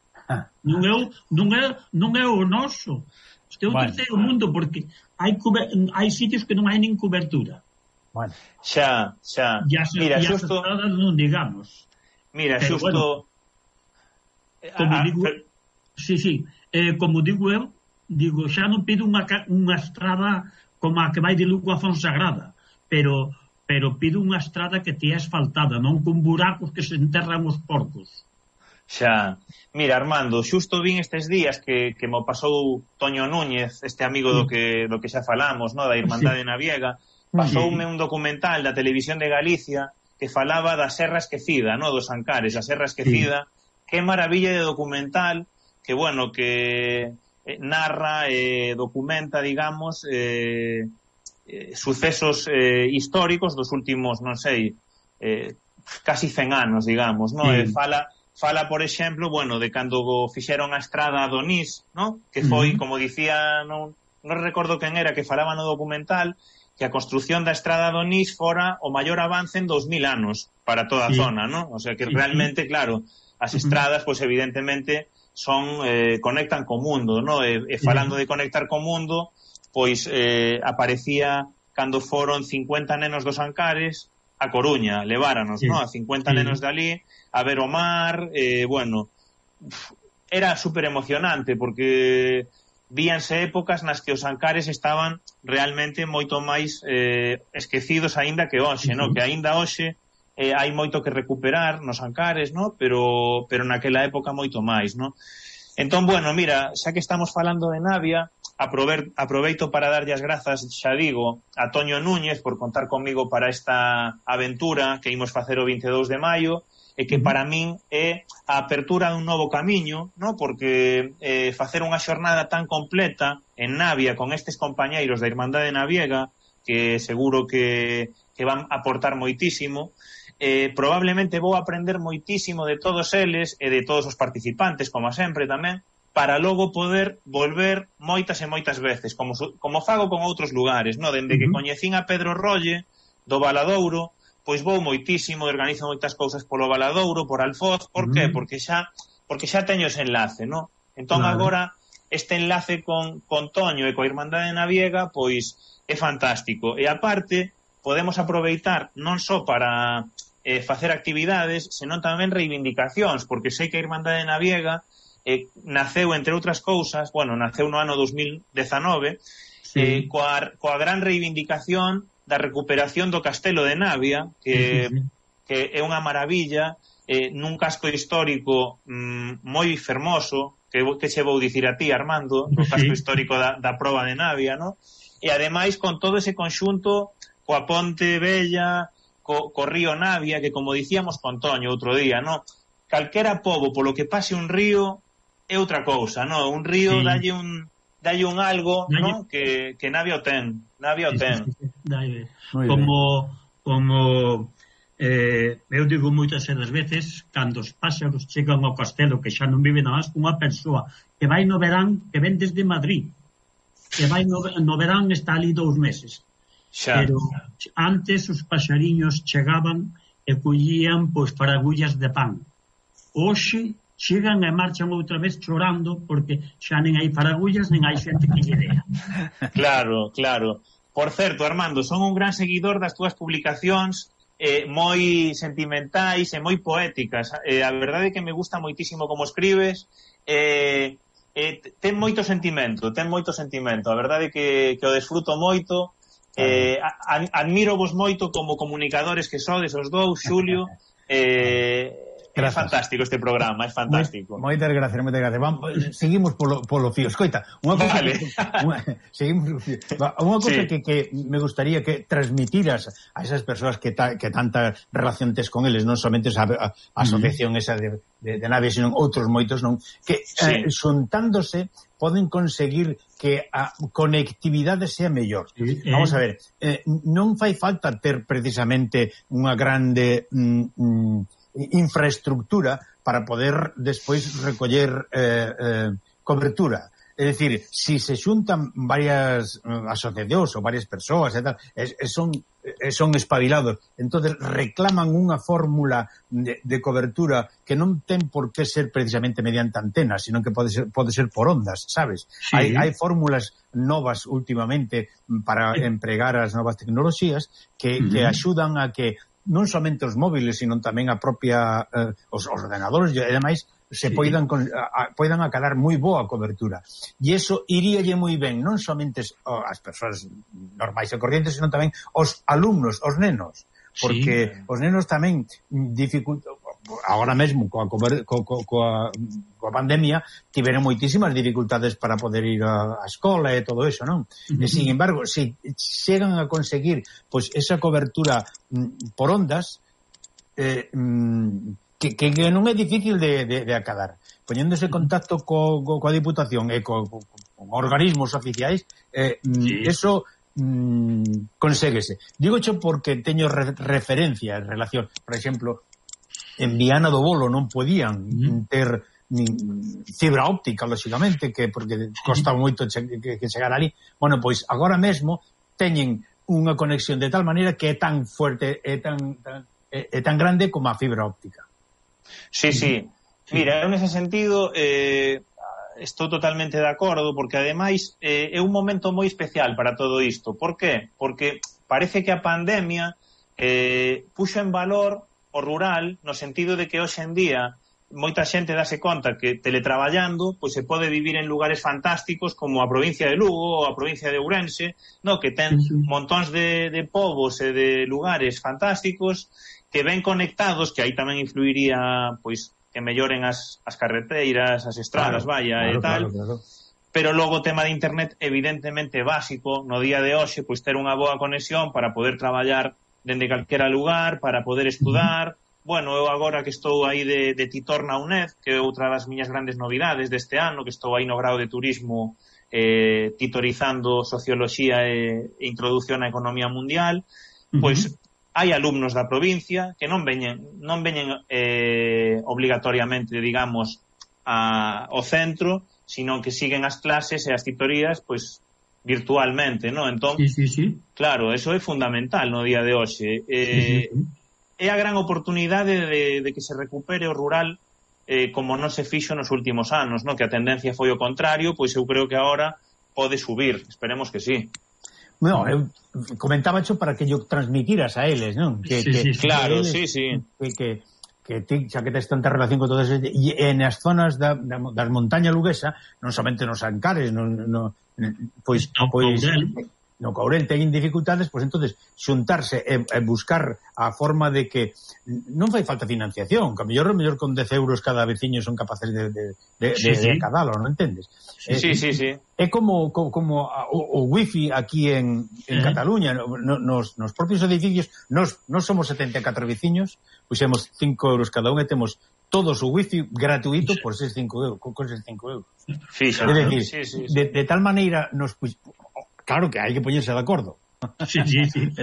non é o noso. Este é o terceiro mundo, porque hai sitios que non hai nin cobertura. Bueno. Xa. Mira, xusto non digamos. Mira, pero xusto bueno, como digo, como digo eu, xa non pido unha estrada como a que vai de Lugo a Fonsagrada, pero pido unha estrada que te é asfaltada, non con buracos que se enterran os porcos. Xa. Mira, Armando, xusto vin estes días que mo pasou Toño Núñez, este amigo do que xa falamos, no, da Irmandade Naviega, pasoume un documental da Televisión de Galicia que falaba da Serra Esquecida, no, dos Ancares, a Serra Esquecida. Que maravilla de documental, que, bueno, que narra, documenta, digamos, sucesos históricos dos últimos, non sei, casi 100 anos, digamos, no? Fala, por exemplo, bueno, de cando fixeron a estrada a Donís, no? Que foi, como dicía, non recordo quen era que falaba no documental, que a construción da estrada a Donís fora o maior avance en 2000 anos para toda a zona, no? O sea, que realmente, claro, as estradas, pois evidentemente son conectan co mundo, no? E falando de conectar co mundo, pois aparecía cando foron 50 nenos dos Ancares a Coruña, leváranos, no? A 50 nenos de ali a ver o mar, bueno, era super emocionante porque víanse épocas nas que os Ancares estaban realmente moito máis esquecidos aínda que hoxe, no? Que aínda hoxe hai moito que recuperar nos Ancares, no? Pero naquela época moito máis, no? Entón, bueno, mira, xa que estamos falando de Navia, aproveito para darlle as grazas, xa digo, a Toño Núñez por contar comigo para esta aventura que imos facer o 22 de maio, e que para min é a apertura dun novo camiño, no? Porque facer unha xornada tan completa en Navia con estes compañeiros da Irmandade Naviega, que seguro que van a aportar moitísimo, probablemente vou aprender moitísimo de todos eles e de todos os participantes, como sempre tamén, para logo poder volver moitas e moitas veces, como fago con outros lugares, no? Dende que coñecín a Pedro Rolle do Valadouro, pois vou moitísimo, organizo moitas cousas polo Valadouro, por Alfoz. Por qué? Porque xa teño ese enlace, no? Entón agora este enlace con Toño e coa Irmandade Naviega pois é fantástico, e aparte podemos aproveitar non só para facer actividades, senón tamén reivindicacións, porque sei que a Irmandade Naviega naceu, entre outras cousas, bueno, naceu no ano 2019 coa gran reivindicación da recuperación do Castelo de Navia, que é unha maravilla, nun casco histórico moi fermoso, que che vou dicir a ti, Armando, o casco histórico da Proba de Navia, no? E ademais con todo ese conxunto, coa Ponte Bella, co río Navia, que como dicíamos con Toño outro día, no? Calquera pobo polo que pase un río é outra cousa, no? Un río dalle un algo, no? Que Navia o ten. Como eu digo moitas veces, cando os páxaros chegan ao castelo, que xa non vive nada máis unha persoa que vai no verán, que ven desde Madrid, que vai no verán, está ali 2 meses. Pero antes os paxariños chegaban e collían pois paragullas de pan. Hoxe chegan e marchan outra vez chorando porque xa nen hai paragullas nen hai xente que lle dea. Claro. Por certo, Armando, son un gran seguidor das túas publicacións, moi sentimentais e moi poéticas. A verdade é que me gusta moitísimo como escribes, ten moito sentimento, a verdade é que o desfruto moito, Admiro vos moito como comunicadores que sodes os dous, Xulio. É fantástico este programa, é fantástico. Moitas gracias. Vamos, seguimos polo fío. Escoita, unha cosa que me gustaría que transmitiras a esas persoas que tanta relación tes con eles, non somente a asociación esa de naves, sino outros moitos, non, que xuntándose poden conseguir que a conectividade sea mellor. Vamos a ver, non fai falta ter precisamente unha grande infraestructura para poder despois recoller cobertura. É dicir, si se xuntan varias asociacións ou varias persoas e tal, son espabilados, entonces reclaman unha fórmula de cobertura que non ten por que ser precisamente mediante antenas, sino que pode ser por ondas, sabes? Sí. Hai fórmulas novas últimamente para empregar as novas tecnoloxías que axudan a que non somente os móviles, sino tamén a propia os ordenadores e demais se poidan acadar moi boa cobertura. E iso iríalle moi ben non somente as persoas normais e corrientes, sino tamén os alumnos, os nenos, porque os nenos tamén agora mesmo coa pandemia tiveron moitísimas dificultades para poder ir á escola e todo eso, non? E, sin embargo, se chegan a conseguir pois esa cobertura por ondas, que non é difícil de acadar. Poñéndose en contacto coa Diputación e con organismos oficiais, eso conséguese. Dígocho porque teño referencia en relación, por exemplo, en Viana do Bolo non podían ter fibra óptica, lógicamente, porque costaba moito que chegar ali. Bueno, pois agora mesmo teñen unha conexión de tal maneira que é tan fuerte, é tan grande como a fibra óptica. Sí. Mira, en ese sentido estou totalmente de acordo, porque ademais é un momento moi especial para todo isto. Por qué? Porque parece que a pandemia puxo en valor o rural, no sentido de que hoxe en día moita xente dase conta que teletraballando pois se pode vivir en lugares fantásticos como a provincia de Lugo ou a provincia de Ourense, no, que ten montóns de povos e de lugares fantásticos que ven conectados, que aí tamén influiría pois que melloren as carreteiras, as estradas, e tal. Claro. Pero logo o tema de internet evidentemente básico no día de hoxe, pois ter unha boa conexión para poder traballar dende calquera lugar, para poder estudar. Bueno, eu agora que estou aí de titor na UNED, que é outra das miñas grandes novidades deste ano, que estou aí no grau de turismo titorizando socioloxía e introducción á economía mundial, pois hai alumnos da provincia que non veñen obligatoriamente, digamos, ao centro, sino que siguen as clases e as titorías, pois, virtualmente, ¿no? Entón, claro, eso é fundamental no día de hoxe. É a gran oportunidade de que se recupere o rural como non se fixo nos últimos anos, ¿no? Que a tendencia foi o contrario, pois eu creo que agora pode subir, esperemos que sí. No, eu comentaba xo para que yo transmitiras a eles, non? Claro, eles, sí. Que ti, xa que tes tanta relación con todas esas, e nas zonas das montañas luguesa, non somente nos Ancares, pois no Courel teñen dificultades, pois entonces xuntarse e buscar a forma de que non fai falta financiación, que a mellor con 10 euros cada veciño son capaces de acadalo, non entendes? Sí. É como o wifi aquí en Cataluña, nos propios edificios, nos somos 74 veciños, puxemos 5 euros cada un e temos todos o wifi gratuito por esos 5 euros, con esos 5 euros. Fíxate, é dicir, de tal maneira claro que hai que poñerse de acordo. Sí.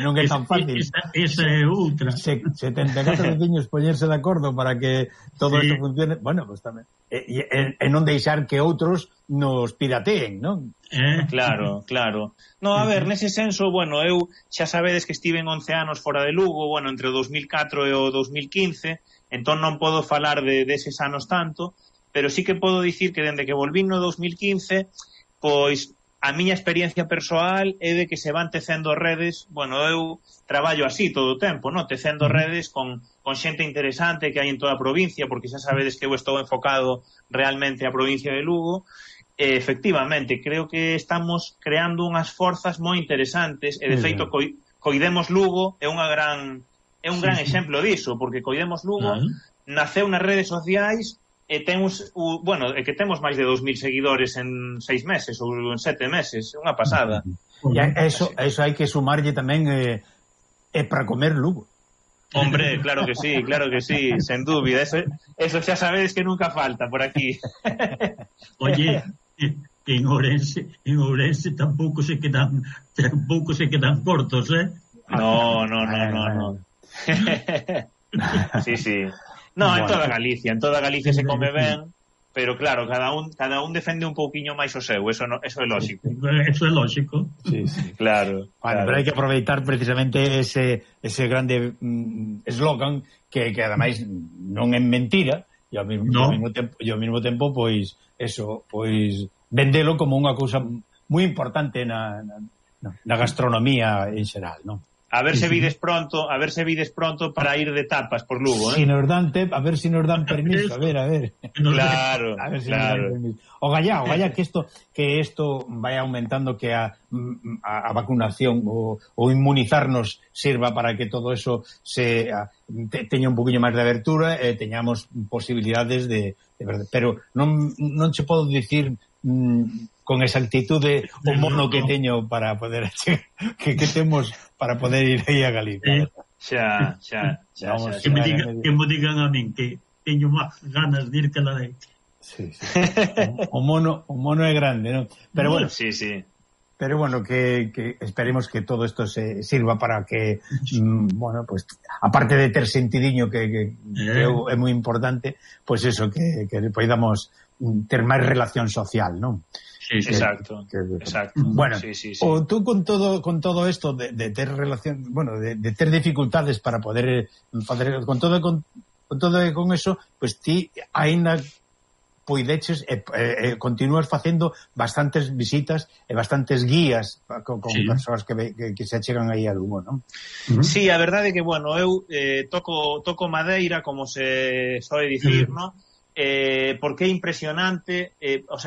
Non é tan fácil. Esa é outra. 74 veciños poñerse de acordo para que todo isto funcione. Bueno, pues tamén. E non deixar que outros nos pirateen, non? Claro. No, a ver, nese senso, bueno, eu xa sabedes que estiven 11 anos fora de Lugo, bueno, entre o 2004 e o 2015, entón non podo falar deses anos tanto, pero sí que podo dicir que dende que volvín no 2015, pois a miña experiencia persoal é de que se van tecendo redes, bueno, eu traballo así todo o tempo, no? Tecendo redes con xente interesante que hai en toda a provincia, porque xa sabedes que eu estou enfocado realmente a provincia de Lugo, efectivamente, creo que estamos creando unhas forzas moi interesantes, e de feito Coidemos Lugo é un gran exemplo diso, porque Coidemos Lugo naceu nas redes sociais e temos, que temos máis de 2.000 seguidores en 6 meses ou en 7 meses, é unha pasada. E eso hai que sumarlle tamén para comer Lugo. Hombre, claro que sí, sen dúbida, eso xa sabedes que nunca falta por aquí. Oye, en Ourense tampouco se quedan cortos, No. Sí. No, bueno. En toda Galicia se come ben, pero claro, cada un defende un pouquiño máis o seu, eso é lógico. Eso é lógico. Sí. Claro. Pero hai que aproveitar precisamente ese grande eslogan que ademais non é mentira, e ao mesmo tempo pois vendelo como unha cousa moi importante na gastronomía en xeral, non? A ver se vides pronto para ir de tapas por Lugo, Si nos dan a ver si nos dan permiso, a ver. Claro, a ver si nos dan permiso. O gallá que esto vaya aumentando, que a vacunación o inmunizarnos sirva para que todo eso teña un poquinho máis de abertura e teñamos posibilidades de verdade. Pero non che podo dicir con exactitude o mono que teño para poder que temos para poder ir aí a Galicia. Xa. Que me digan a min que teño máis ganas de ir que la leite. Sí. O mono é grande, non? Pero bueno. Sí. Pero bueno, que esperemos que todo isto se sirva para que pues aparte de ter sentidiño que é moi importante, pues eso, que podamos ter máis relación social, non? Sí, exacto. Bueno, sí. O tú con todo esto de ter relación, de ter dificultades para poder facer con todo con eso, pues ti aínda poideches continúas facendo bastantes visitas e bastantes guías con persoas que se achegan aí a Lugo, non? Sí, a verdade é que, eu toco madeira, como se soe dicir, non? Porque é impresionante,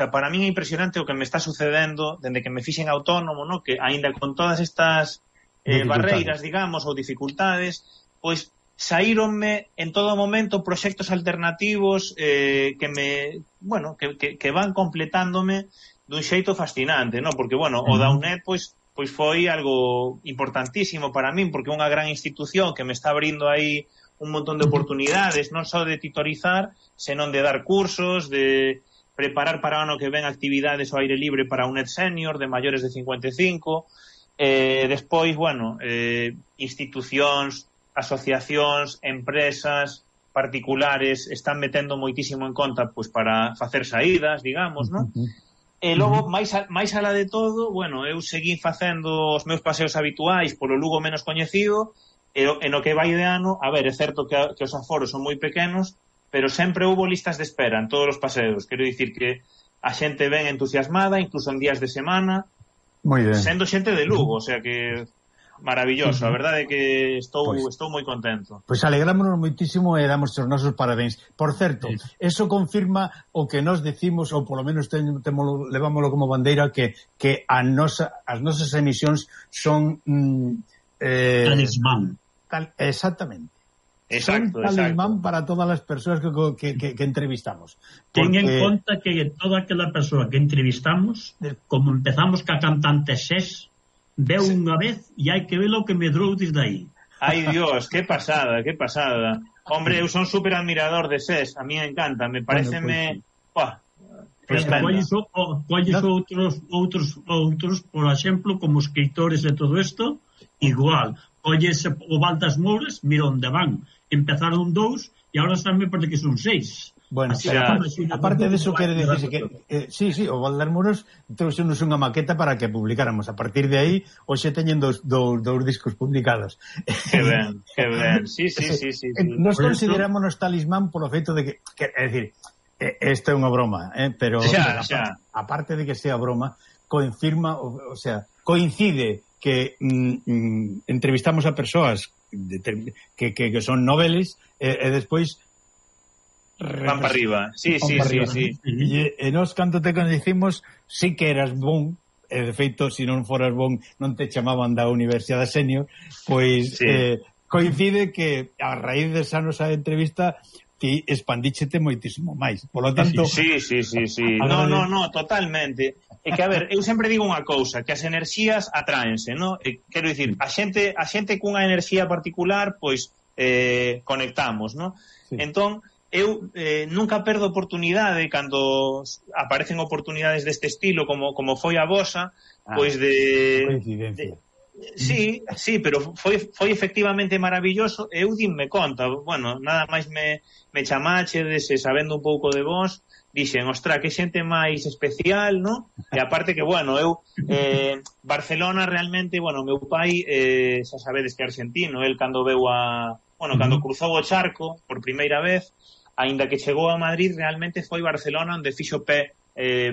para min é impresionante o que me está sucedendo dende que me fixen autónomo, no? Que aínda con todas estas barreiras, digamos, ou dificultades, pois saíronme en todo momento proxectos alternativos que van completándome dun xeito fascinante, no? Porque, o da UNED, pois foi algo importantísimo para min, porque é unha gran institución que me está abrindo aí un montón de oportunidades, non só de titorizar, senón de dar cursos, de preparar para o ano que ven actividades ao aire libre para UNED Senior de maiores de 55, despois, institucións, asociacións, empresas particulares están metendo moitísimo en conta pois para facer saídas, digamos, non? E logo, máis alá de todo, eu seguín facendo os meus paseos habituais polo Lugo menos coñecido, e no que vai de ano, é certo que os aforos son moi pequenos, pero sempre houbo listas de espera en todos os paseos. Quero dicir que a xente ven entusiasmada, incluso en días de semana, sendo xente de Lugo, o sea que maravilloso, a verdade é que estou moi contento. Pois alegrámonos moitísimo e damos os nosos parabéns. Por certo, eso confirma o que nos decimos, ou polo menos levámoslo como bandeira, que as nosas emisións son talismán. Exactamente. Exacto. Talismán para todas as persoas que entrevistamos. Ten en conta que toda aquela persoa que entrevistamos, como empezamos ca cantante Xés, veu unha vez e hai que ver o que medrou desde aí. Ai, Dios, que pasada. Hombre, eu son super admirador de Xés, a mí me encanta, me pareceme... Colles outros, por exemplo, como escritores e todo isto, igual. Colles o Valdas Mouras, mira onde van. Empezaron 2 e agora están, me parece que son 6. Bueno, aparte de eso, quere decirse que sí, o Valdas Mouras trouxenos unha maqueta para que publicáramos. A partir de aí, hoxe teñen dous discos publicados. Que ben. Sí. Nos considerámonos talismán polo feito de que é dicir, isto é unha broma, pero aparte de que sea broma, confirma, o sea, coincide que entrevistamos a persoas que son noveles e despois Van para arriba. Sí. E nós, cando te conhecimos, sí que eras bon, e de feito, se non foras bon, non te chamaban da Universidade Senior, pois coincide que a raíz desa nosa entrevista ti expandíchete moitísimo máis. Por lo tanto... Sí. No, totalmente. É que, a ver, eu sempre digo unha cousa, que as enerxías atraense, non? Quero dicir, a xente cunha enerxía particular, pois, conectamos, non? Sí. Entón, eu nunca perdo oportunidade cando aparecen oportunidades deste estilo, como foi a vosa, pois de... Coincidencia. Sí, pero foi efectivamente maravilloso. Eu dinme conta, bueno, nada máis me chamachedes, sabendo un pouco de vos, dixen, ostra, que xente máis especial, non? E aparte que, bueno, eu Barcelona realmente, bueno, meu pai xa sabedes que é argentino, el cando veu cando cruzou o charco por primeira vez, aínda que chegou a Madrid, realmente foi Barcelona onde fixo pé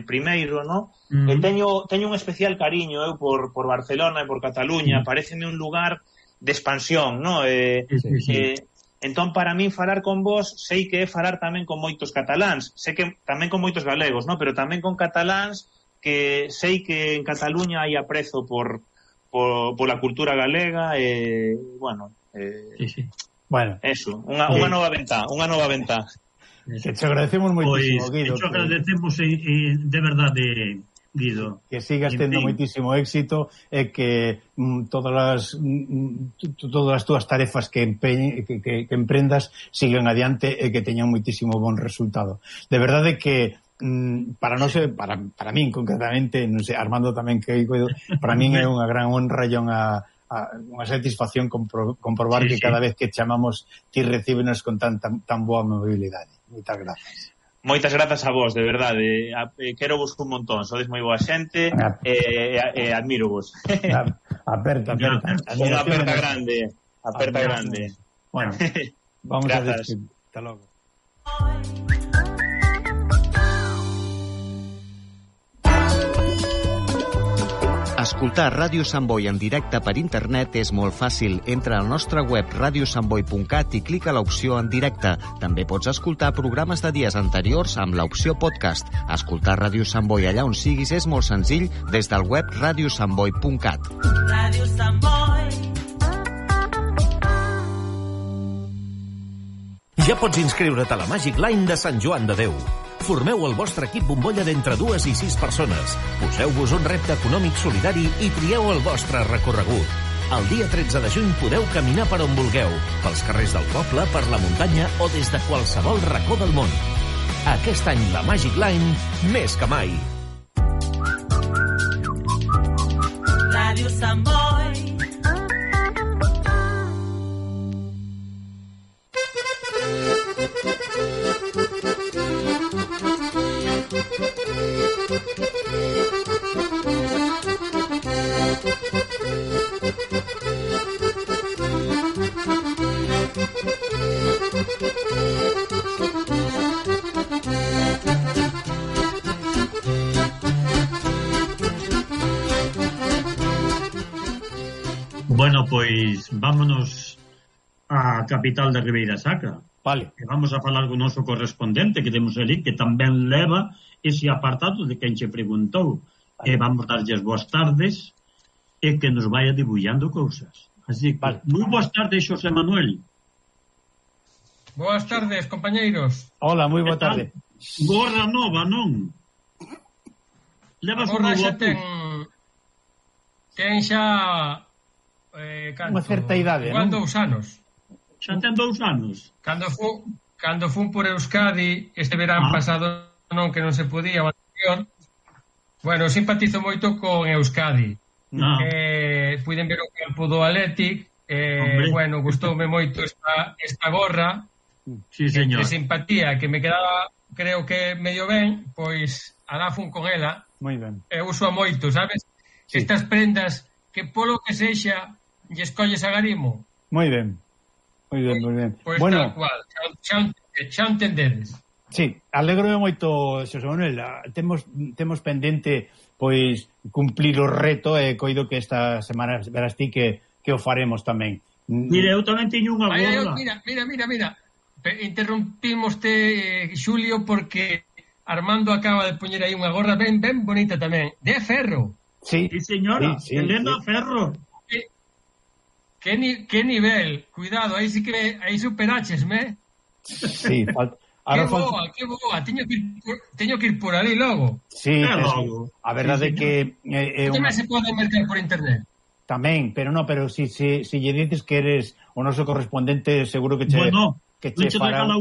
primeiro, non? E teño un especial cariño eu por Barcelona e por Cataluña, pareceme un lugar de expansión, non? Entón, para min, falar con vos, sei que é falar tamén con moitos cataláns, sei que tamén con moitos galegos, non? Pero tamén con cataláns, que sei que en Cataluña hai aprezo por la cultura galega, bueno, eso, unha nova ventá. Que te agradecemos moitísimo, Guido. Te agradecemos de verdade, Guido. Que sigas tendo moitísimo éxito e que todas as túas tarefas que emprendas sigan adiante e que teñan moitísimo bon resultado. De verdade que para min concretamente, non sei, Armando tamén que coido, para min é unha gran honra e unha satisfacción comprobar que cada vez que chamamos ti recíbenos con tan boa mobilidade. Moitas grazas. Moitas grazas a vos, de verdade. Quero vos un montón, sodes moi boa xente e admiro vos. Aperta. Unha aperta grande. Bueno, vamos a despedir. Hasta logo. Escoltar Ràdio Sant Boi en directe per internet és molt fàcil. Entra al nostre web radiosantboi.cat i clica l'opció en directe. També pots escoltar programes de dies anteriors amb l'opció podcast. Escoltar Ràdio Sant Boi allà on siguis és molt senzill des del web radiosantboi.cat. Ràdio Sant Boi. Ja pots inscriure't a la Magic Line de Sant Joan de Déu. Formeu el vostre equip bombolla d'entre 2 i 6 persones. Poseu-vos un repte econòmic solidari i trieu el vostre recorregut. El dia 13 de juny podeu caminar per on vulgueu, pels carrers del poble, per la muntanya o des de qualsevol racó del món. Aquest any la Magic Line, més que mai. Ràdio Sant Boi. Bueno, pois vámonos á capital da Ribeira Sacra. Vale. E vamos a falar con o noso correspondente que temos ali, que tamén leva ese apartado de quen che preguntou. Vale. E vamos darlle as boas tardes e que nos vaya debullando cousas. Así que, moi boas tardes, Xosé Manuel. Boas tardes, compañeiros. Hola, moi boa tarde. Gorra nova, non? Levas unha xa ten xa unha certa idade, non? 2 anos. Xa ten 2 anos. Cando fun por Euskadi este verán pasado, non, que non se podía, o anterior. Bueno, simpatizo moito con Euskadi. Puiden ver o campo do Athletic. Bueno, gustoume moito esta gorra. Sí, señor. De simpatía, que me quedaba, creo que medio ben, pois alá fun con ela. Moi ben. E uso a moito, sabes? Sí. Estas prendas que polo que sexa lle escolles a garimo. Moi ben. Moi ben, moi ben. Pois bueno, tal cual, xa entendedes. Sí, alegro moito, Xosé Manuel. Temos pendente pois cumplir o reto e coido que esta semana verás ti que o faremos tamén. Mira, eu tamén teño unha gorra. Mira. interrumpímoste, Xulio, porque Armando acaba de poñer aí unha gorra ben bonita tamén, de ferro. Sí, señora, Elena Ferro. Que nivel, cuidado, aí sí que aí superaches-me. Sí, que boa, teño que ir por ali logo. Sí, a verdade é que tamén se pode mercar por internet. Tamén, pero si lle dices que eres o noso correspondente, seguro que che regala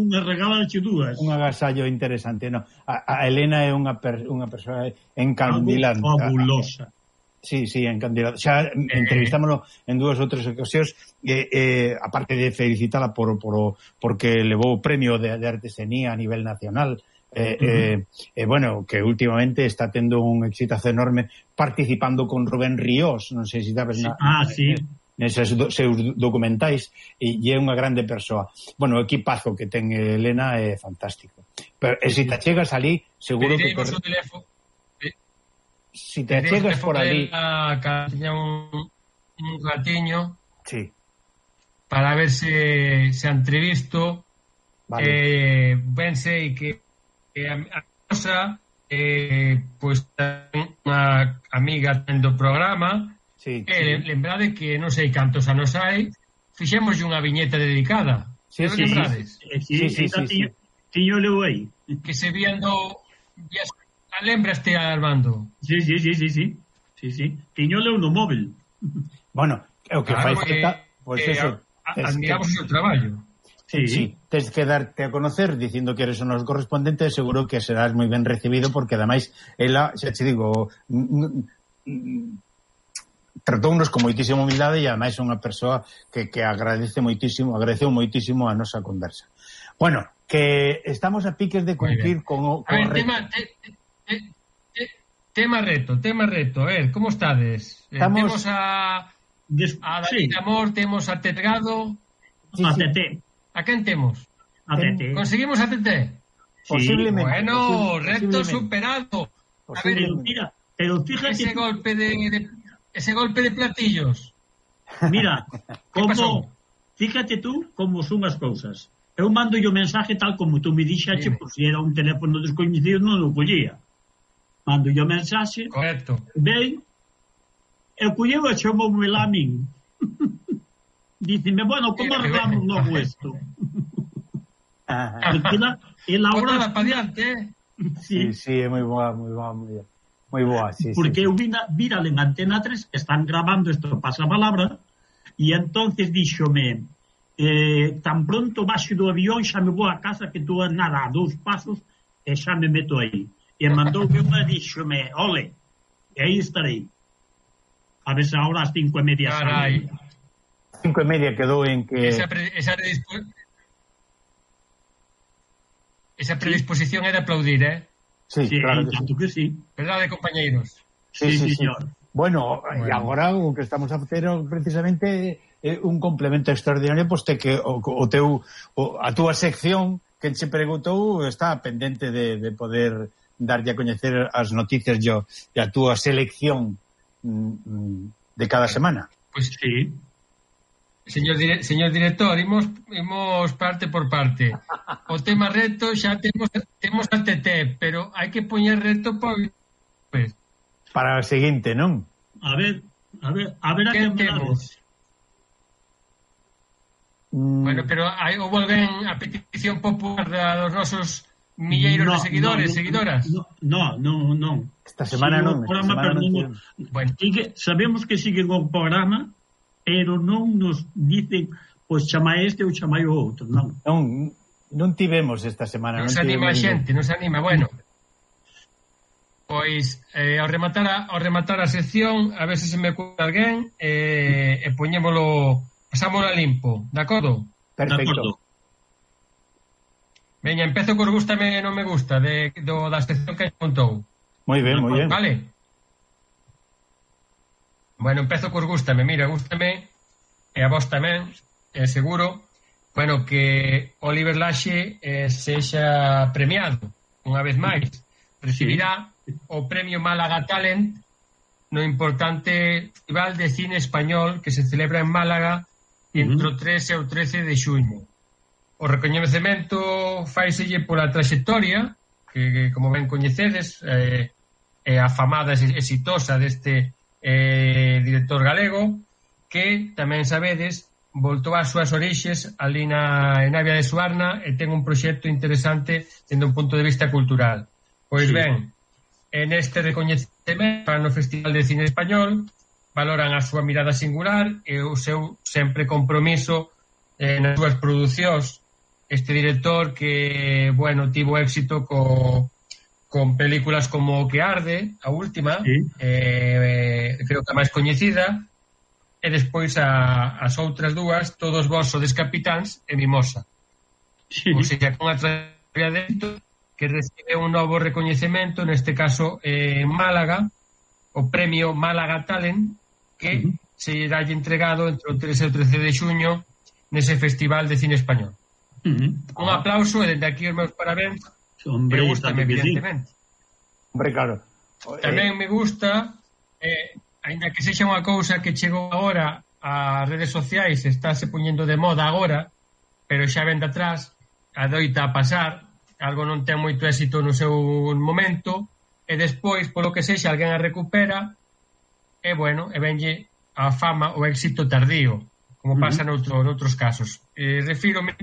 dúas. Un agasallo interesante, no. A Elena é unha persoa encandilante. Fabulosa. Sí, encandilante. Xa entrevistámoslo en 2 ou 3 ocasións, aparte de felicitala porque levou o premio de artesanía a nivel nacional, bueno, que últimamente está tendo un exitazo enorme participando con Rubén Ríos, non sei se sabes neses seus documentais, e é unha grande persoa. Bueno, o equipazo que ten Elena é fantástico. Pero se te chegas ali, seguro que si te chegas por ali tiña un ratiño para ver se entrevisto, ben sei que a cosa pois unha amiga do programa. Lembrade que non sei cantos anos hai, fixemos unha viñeta dedicada. Lembrades? Tiño leu aí. Que se viendo... Lembraste, Armando? Sí. Tiño leu no móvil. Bueno, o que fai falta... Pois eso... Admiramos o seu traballo. Sí, tens que darte a conocer dicindo que eres o noso correspondente, seguro que serás moi ben recibido, porque ademais ela, xa te digo... tratounos con moitísima humildade e ademais é unha persoa que agradeceu moitísimo a nosa conversa. Bueno, que estamos a piques de cumplir con o reto. Tema reto. A ver, como estades? Temos a David Amor, temos a Tetgado. A TT. A quen temos? A TT. Conseguimos a TT? Posiblemente. Bueno, reto superado. A ver, pero fíjate... Ese golpe de platillos. Mira, fíjate tú como son as cousas. Eu mando o mensaje tal como tú me dixache, por si era un teléfono descoñecido non o collía. Mando o mensaje. Correcto. Ben, eu colleu e chamoume lá a min. Díceme, bueno, como arreglamos logo isto? E la hora para diante, Sí, é moi boa, moi boa, sí. Porque eu vira en Antena 3 que están grabando isto pasapalabra e entonces díxome tan pronto baixo do avión xa me vou a casa que tú nada, a 2 pasos e xa me meto aí. E mandoume unha e díxome, ole, e aí estarei. A ver se ahora as 5:30 Carai. 5:30 quedou en que... Esa predisposición é de aplaudir, Sí, claro que sí. Verdade, compañeiros? Sí, señor. Bueno, e agora o que estamos a facer precisamente é un complemento extraordinario, poste que a túa sección que se preguntou está pendente de poder darlle a coñecer as noticias e a túa selección de cada semana. Pois sí. Señor director, imos parte por parte. O tema reto xa temos a TT, pero hai que poñer reto para o seguinte, non? A ver a que temos. Bueno, pero houve alguén a petición popular dos nosos milleiros de seguidoras? Non. Esta semana non. Bueno, sabemos que siguen o programa, pero non nos dicen, pois chama este ou chama o outro, non. Non tivemos esta semana. Nos anima a xente, nos anima, bueno. Pois, ao rematar a sección, a ver se me cuida alguén, e poñémolo, pasámolo a limpo, de acordo? Perfecto. Veña, empezo cos gústame e non me gusta, da sección que contou. Moi ben. Vale. Bueno, empezo cos gústame, e a vos tamén, seguro, bueno, que Oliver Laxe sexa premiado, unha vez máis. Recibirá o premio Málaga Talent no importante Festival de Cine Español que se celebra en Málaga entre o 3 e o 13 de xuño. o recoñecemento faiselle pola traxectoria que como ben coñecedes, a famada e exitosa deste director galego, que tamén sabedes voltou ás súas orixes ali en Navia de Suarna e ten un proxecto interesante dende un punto de vista cultural. Pois ben, en este recoñecemento no Festival de Cine Español valoran a súa mirada singular e o seu sempre compromiso nas súas producións. Este director que, bueno, tivo éxito con películas como O que arde, a última, creo que a máis coñecida, e despois as outras dúas, Todos vós sodes capitáns e Mimosa. Ou seja, con a trayectoria dentro que recibe un novo recoñecemento, neste caso en Málaga, o premio Málaga Talent, que se dalle entregado entre o 13 e o 13 de xuño nese Festival de Cine Español. Un aplauso e dende aquí os meus parabéns. Me gusta, evidentemente. Hombre, claro. Tamén me gusta, ainda que sexa unha cousa que chegou agora ás redes sociais, estáse poñendo de moda agora, pero xa ven de atrás, adoita a pasar, algo non ten moito éxito no seu momento, e despois, polo que sexa, alguén a recupera, e bueno, e venlle a fama o éxito tardío, como pasa noutros casos. Refírome,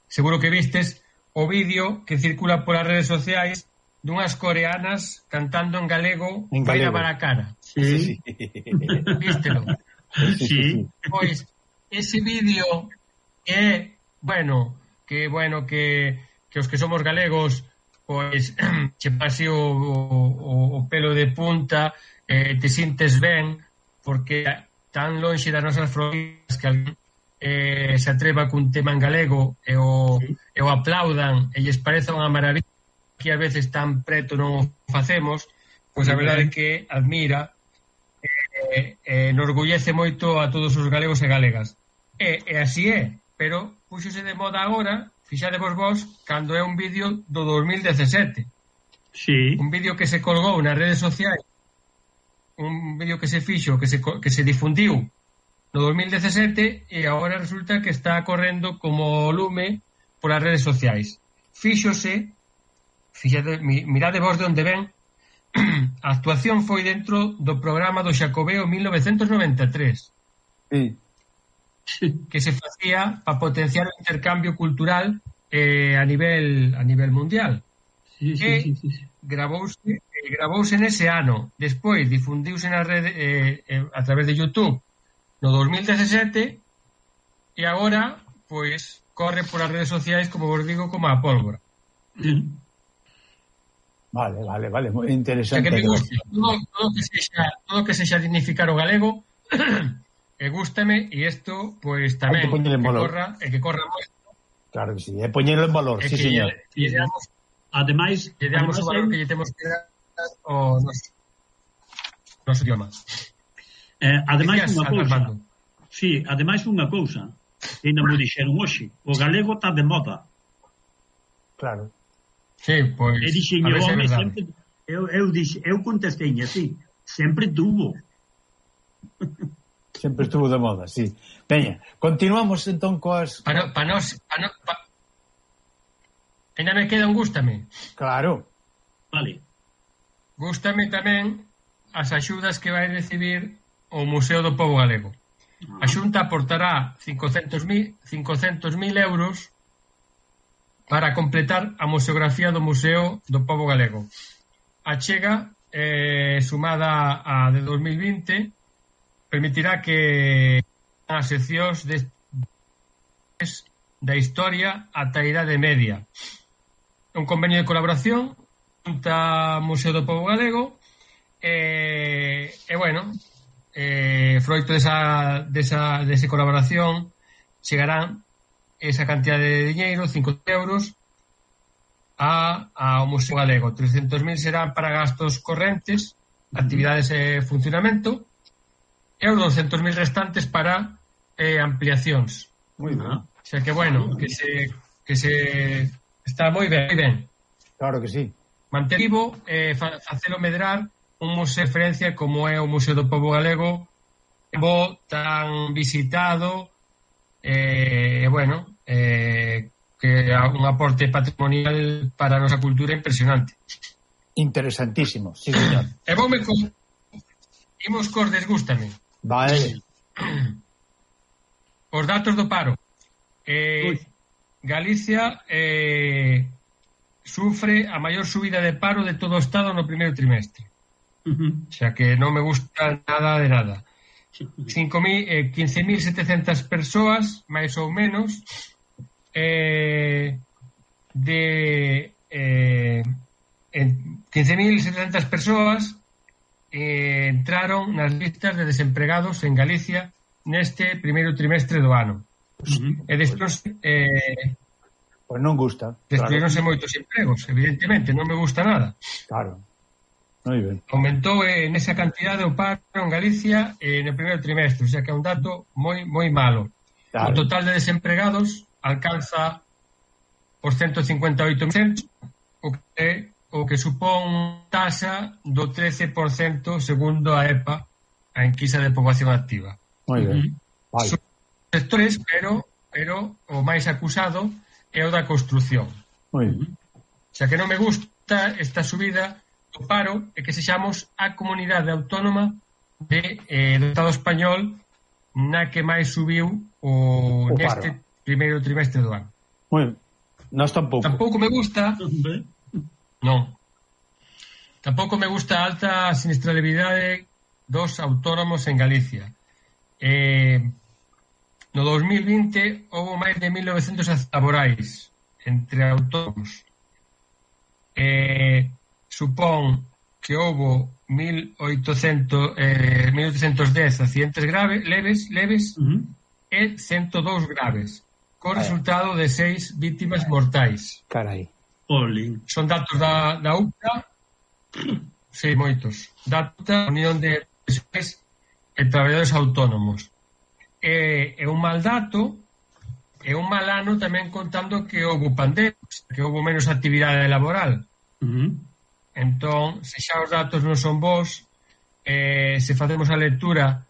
seguro que vistes, o vídeo que circula polas redes sociais dunhas coreanas cantando en galego Vai lavar a cara. Sí. Vístelo? Sí. Pois, ese vídeo é, que os que somos galegos, pois, che pase o pelo de punta, te sintes ben, porque tan lonxe das nosas fronteiras que alguén se atreva cun tema en galego e o aplaudan e lles parece unha maravilla, que a veces tan preto non o facemos, pois a verdade é que admira enorgullece moito a todos os galegos e galegas. E así é, pero puxose de moda agora, fixadevos vos, cando é un vídeo do 2017. Sí. Un vídeo que se colgou nas redes sociais, un vídeo que se fixo, que se difundiu no 2017 e agora resulta que está correndo como lume polas redes sociais. Fíxose, mirade vos de onde ven, a actuación foi dentro do programa do Xacobeo 1993. Sí. Que se facía para potenciar o intercambio cultural a nivel mundial. Sí. Gravouse nese ano. Despois difundiuse na rede a través de YouTube no 2017 e agora, pois, corre polas redes sociais, como vos digo, como a pólvora. Vale, moi interesante. Que me gusta, todo que sexa dignificar o galego, gústame, e isto, pois, tamén, que corra moito. Claro que sí, é poñerlo en valor, sí, señor. Ademais, lle damos o valor que lle temos que dar ao noso idioma. Ademais unha cousa. Sí, ademais unha cousa. Ainda mo dixeron hoxe, o galego está de moda. Claro. Sí, pois. E dixen, home, sempre eu contestei así, sempre tuvo. Sempre estuvo de moda, sí. Veña, continuamos entón coas... Ainda me queda un gústame. Claro. Vale. Gústame tamén as axudas que vai recibir o Museo do Pobo Galego. A Xunta aportará 500.000 euros para completar a museografía do Museo do Pobo Galego. A chega, sumada a de 2020, permitirá que as seccións da historia ata a Idade Media. Un convenio de colaboración Xunta Museo do Pobo Galego froito desa colaboración chegarán esa cantidad de diñeiro, 5 euros, ao Museo Galego. 300.000 serán para gastos correntes, actividades e funcionamento, e os 200.000 restantes para ampliacións. Moi ben. O sea que, que se está moi ben. Claro que sí. Manter vivo, facelo medrar un museo de referencia como é o Museo do Pobo Galego, tan visitado, que é un aporte patrimonial para a nosa cultura impresionante. Interesantísimo, sí, señor. E voume con... Imos cos desgústame. Vale. Os datos do paro. Galicia sufre a maior subida de paro de todo o Estado no primeiro trimestre. Xa que non me gusta nada de nada. 15.700 persoas, máis ou menos, 15.700 persoas entraron nas listas de desempregados en Galicia neste primeiro trimestre do ano. E despois pois non gusta. Destruíronse moitos empregos, evidentemente, non me gusta nada. Claro. Moi ben. Aumentou nesa cantidade o paro en Galicia no primeiro trimestre, o sea que é un dato moi malo. Claro. O total de desempregados alcanza os 158.000, o que supón taxa do 13% segundo a EPA, a enquisa de poboación activa. Moi ben. Vale. Son sectores, pero o máis acusado é o da construción. Moi ben. O sea que non me gusta esta subida do paro e que sexamos a comunidade autónoma do Estado español na que máis subiu neste primeiro trimestre do ano. Moi ben. Nós tampouco. Tampouco me gusta. Non. Tampouco me gusta a alta sinistralidade dos autónomos en Galicia. No 2020 houve máis de 1.900 accidentes laborais entre autónomos. Supón que houve 1.810 accidentes leves e 102 graves, co resultado de 6 vítimas mortais. Carai. Son datos da UCA, sí, moitos. Datos da Unión de Profesores e Traballadores Autónomos. É un mal dato, é un mal ano tamén contando que houve pandemia, que houve menos actividade laboral. Entón, se xa os datos non son bons, se facemos a lectura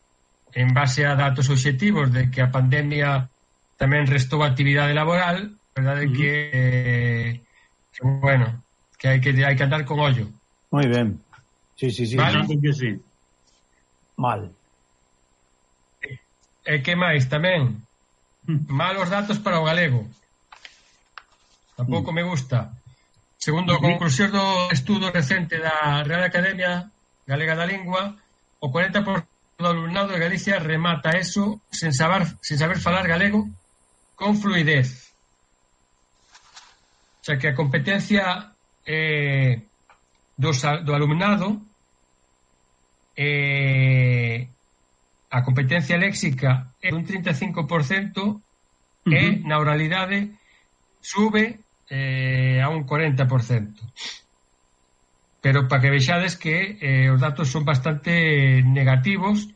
en base a datos obxectivos de que a pandemia tamén restou actividade laboral, a verdade é que bueno, que hai que andar con ollo. Moi ben. Sí. Vale? Que sí. Mal. E que máis tamén? Malos datos para o galego. Tampouco me gusta. Segundo a conclusión do estudo recente da Real Academia Galega da Lingua, o 40% do alumnado de Galicia remata eso sen saber falar galego con fluidez. O sea que a competencia do alumnado, a competencia léxica é un 35% e na oralidade sube a un 40%. Pero para que vexades que os datos son bastante negativos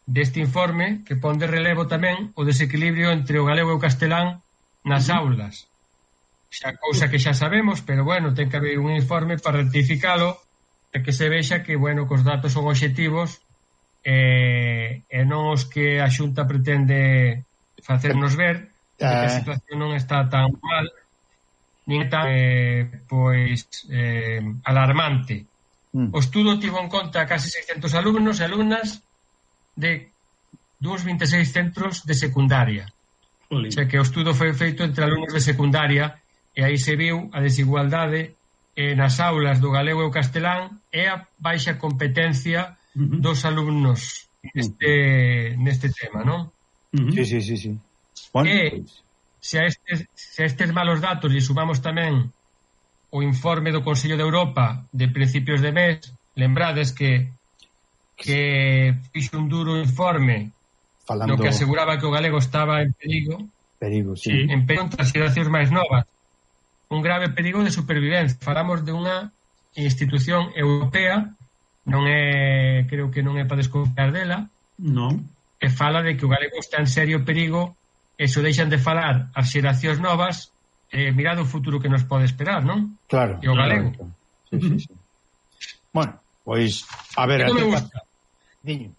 deste informe, que pon de relevo tamén o desequilibrio entre o galego e o castelán nas aulas. Xa cousa que xa sabemos, pero bueno, ten que haber un informe para rectificalo e que se vexa que, bueno, que os datos son obxectivos e non os que a Xunta pretende facernos ver, que a situación non está tan mal nin tan alarmante. O estudo tivo en conta casi 600 alumnos e alumnas de duns 26 centros de secundaria. O sea que o estudo foi feito entre alumnos de secundaria e aí se viu a desigualdade nas aulas do galego e o castelán e a baixa competencia dos alumnos neste tema, non? Sí. Bueno, se a estes malos datos lle sumamos tamén o informe do Consello de Europa de principios de mes, lembrades que fixo un duro informe no que aseguraba que o galego estaba en perigo, sí. En perigo entre as xeracións máis novas, un grave perigo de supervivencia. Falamos de unha institución europea, creo que non é para desconfiar dela, que fala de que o galego está en serio perigo e se deixan de falar as xeracións novas, mirad o futuro que nos pode esperar, non? Claro. E o galego. Sí. Bueno, pois, a ver... Non me gusta. Diño.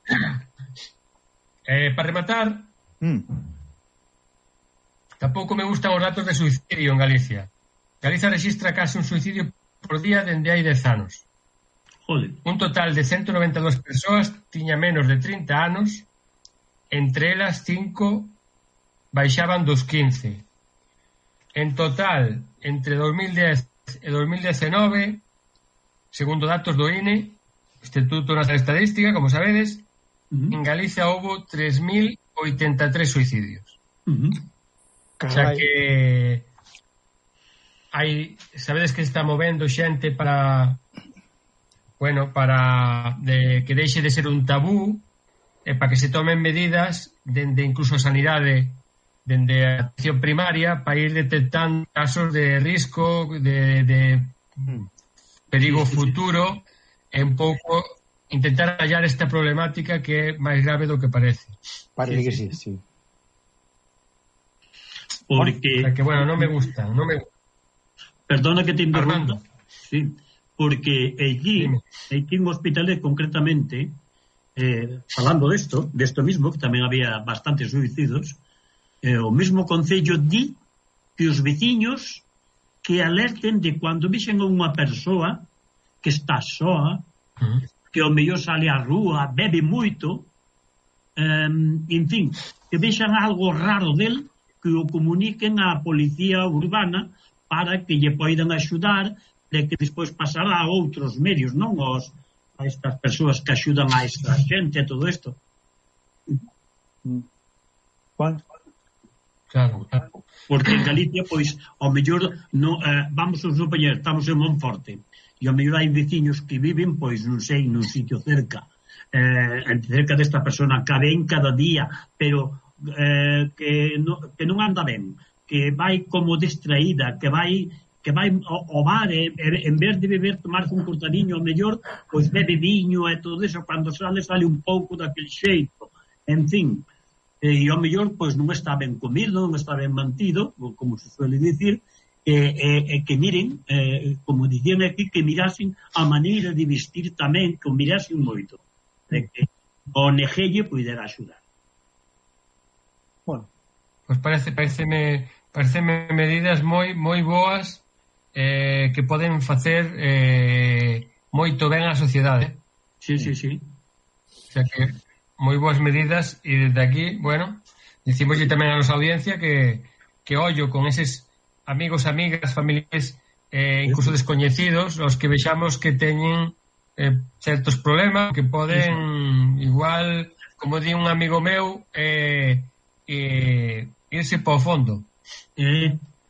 Para rematar, Tampouco me gustan os datos de suicidio en Galicia. Galicia rexistra case un suicidio por día dende hai 10 anos. Joder. Un total de 192 persoas tiña menos de 30 anos, entre elas 5 baixaban dos 15. En total, entre 2010 e 2019, segundo datos do INE, Instituto Nacional de Estadística, como sabedes, en Galicia houve 3.083 suicidios. O sea que sabedes que está movendo xente para que deixe de ser un tabú e para que se tomen medidas dende incluso a sanidade, dende a atención primaria, para ir detectando casos de risco, de perigo futuro, e un pouco intentar hallar esta problemática que é máis grave do que parece. Parece que sí. Porque... O sea que, bueno, non me gusta. Perdona que te interrumpa. Sí, porque aquí en Hospitalet concretamente, falando desto mismo, que tamén había bastantes suicidios, o mesmo concello di que os veciños que alerten de cando vexen a unha persoa que está soa, que o mellor sale á rúa, bebe moito, en fin, que vexan algo raro del, que o comuniquen á policía urbana para que lle poidan axudar, de que despois pasará a outros medios, non a estas persoas que axudan a esta xente e todo isto. Juan? Claro. Porque en Galicia, pois, ao mellor vamos a supoñer, estamos en Monforte e ao mellor hai veciños que viven, pois, non sei, nun sitio cerca desta persona que ven cada día, pero que non anda ben, que vai como distraída, que vai ao bar e en vez de beber, tomarse un cortadiño ao mellor, pois bebe viño e todo eso, cando sale un pouco daquele xeito, en fin, e ao mellor pois non está ben comido, non está ben mantido, como se suele dicir, e que miren, como dicían aquí, que mirasen a maneira de vestir tamén, que o mirasen moito, de que o negelle poidera axudar. Bueno, pois pareceme medidas moi boas que poden facer moito ben á sociedade. Sí. O sea que moi boas medidas, e desde aquí, bueno, dicimoslle tamén a nosa audiencia que ollo con eses amigos, amigas, familiares, incluso descoñecidos, os que vexamos que teñen certos problemas, que poden igual, como di un amigo meu, irse para o fondo.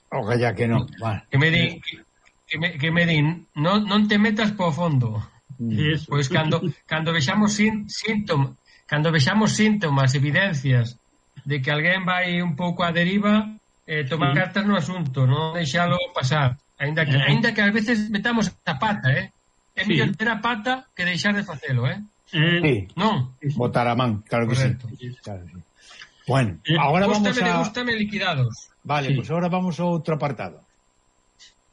Ojalá que non. Vale. Que me din, non te metas para o fondo. Pois cando vexamos síntomas, evidencias de que alguén vai un pouco á deriva, tomar cartas no asunto, non deixalo pasar, aínda que ás veces metamos a pata, é mellor ter a pata que deixar de facelo, Sí. Non? Botar a man, claro que correcto. Sí. Claro, sí. Bueno, agora vamos a... Gústame liquidados. Vale, pois agora vamos ao outro apartado.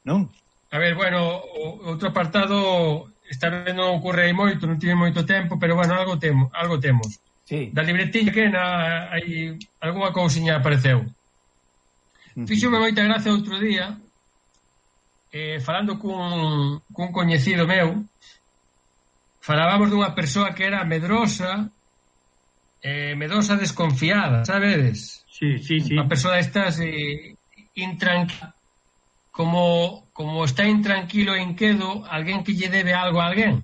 Non? A ver, bueno, outro apartado esta vez non ocorre aí moito, non tive moito tempo, pero bueno, algo temos. Sí. Da libretilla que hai algunha cousiña apareceu. Fíxome moita gracia outro día, falando cun coñecido meu, falábamos dunha persoa que era medrosa desconfiada, sabedes? Sí. Unha persoa destas intranquila, como está intranquilo e inquedo alguén que lle debe algo a alguén,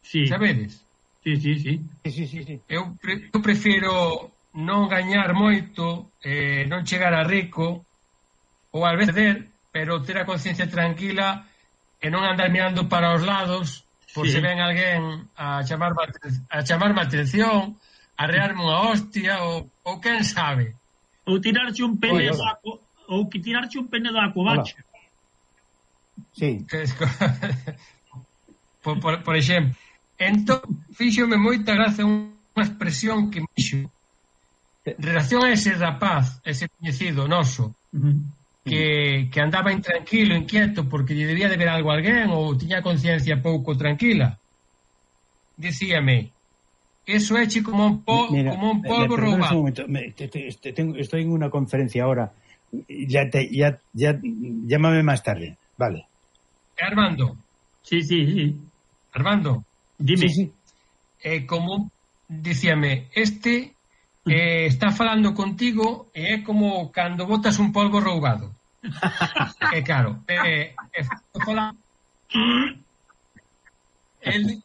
sabedes? Sí. Eu prefiro non gañar moito, non chegar a rico, ou al vez perder, pero ter a conciencia tranquila e non andar mirando para os lados por se ven alguén a chamarme atención, a rearme unha hostia, ou quen sabe. Ou tirarche un pene da covacha. Sí. por exemplo. Entón, fíxome moita gracia unha expresión que me dixo en relación a ese rapaz, ese coñecido noso, que andaba intranquilo, inquieto, porque lle debía de ver algo a alguén ou tiña a conciencia pouco tranquila. Dicíame, eso é como un polvo roubado. Estoy en una conferencia ahora Llámame más tarde, vale. Armando. Sí. Armando. Dime. Sí. Como dicíame, está falando contigo e é como cando botas un polvo roubado. Claro, el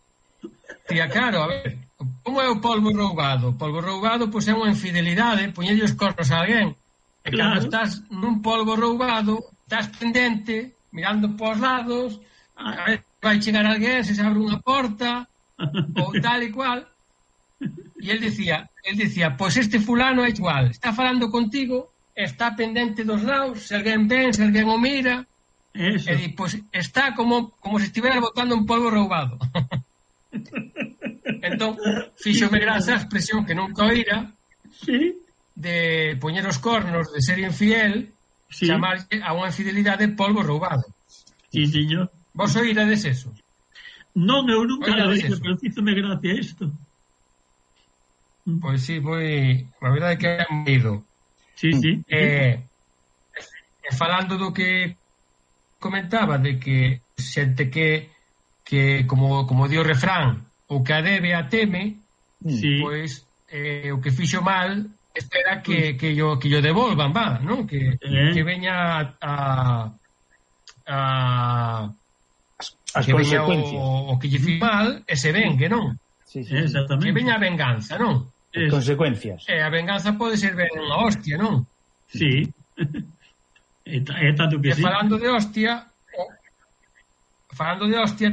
dicía, claro, a ver, como é o polvo roubado? O polvo roubado, pois, é unha infidelidade, poñelle os cornos a alguén. E cando estás nun polvo roubado, estás pendente, mirando pos lados, a ver, vai chegar alguén, se abre unha porta, ou tal e cual. E el dicía, pois este fulano é igual, está falando contigo, está pendente dos lados, se alguén ven, se alguén o mira, e di, pois está como se estivera botando un polvo roubado. Entón, fíxome graza a expresión que nunca oíra, de poñer os cornos, de ser infiel, chamarlle a unha infidelidade polvo roubado. Sí, señor. Vos oírades eso? Non, eu nunca lo oído, pero fíxome gracia isto. Pois sí, a verdade é que é moído. Sí. Falando do que comentaba, de que xente que como di o refrán, o que a debe a teme, pois o que fixo mal espera que yo devolvan, non? Que veña as que veña consecuencias. O que lle fixo mal e se vengue, non? Sí, exactamente. Que veña a venganza, non? As consecuencias. A venganza pode ser ben unha hostia, non? Sí. É tanto que sí. Falando de hostia,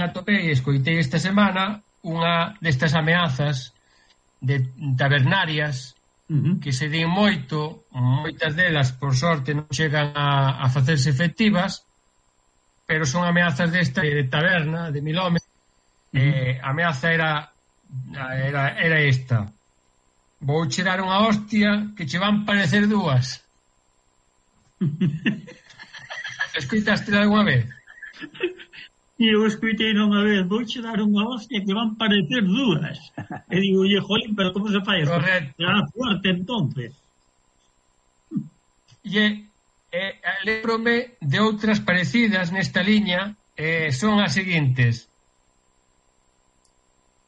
atopei e escoitei esta semana unha destas ameazas tabernarias que se din moitas delas, por sorte, non chegan a facerse efectivas, pero son ameazas desta de taberna, de 1000 homes. A ameaza era esta: vou che dar unha hostia que che van parecer dúas. Escoitaste algunha vez? Eu escoitei unha vez: vou che dar unha hostia que van parecer dúas. E digo, oye, jolín, pero como se fai? Correcto. Será fuerte, entonces. Lembrome de outras parecidas nesta liña, son as seguintes: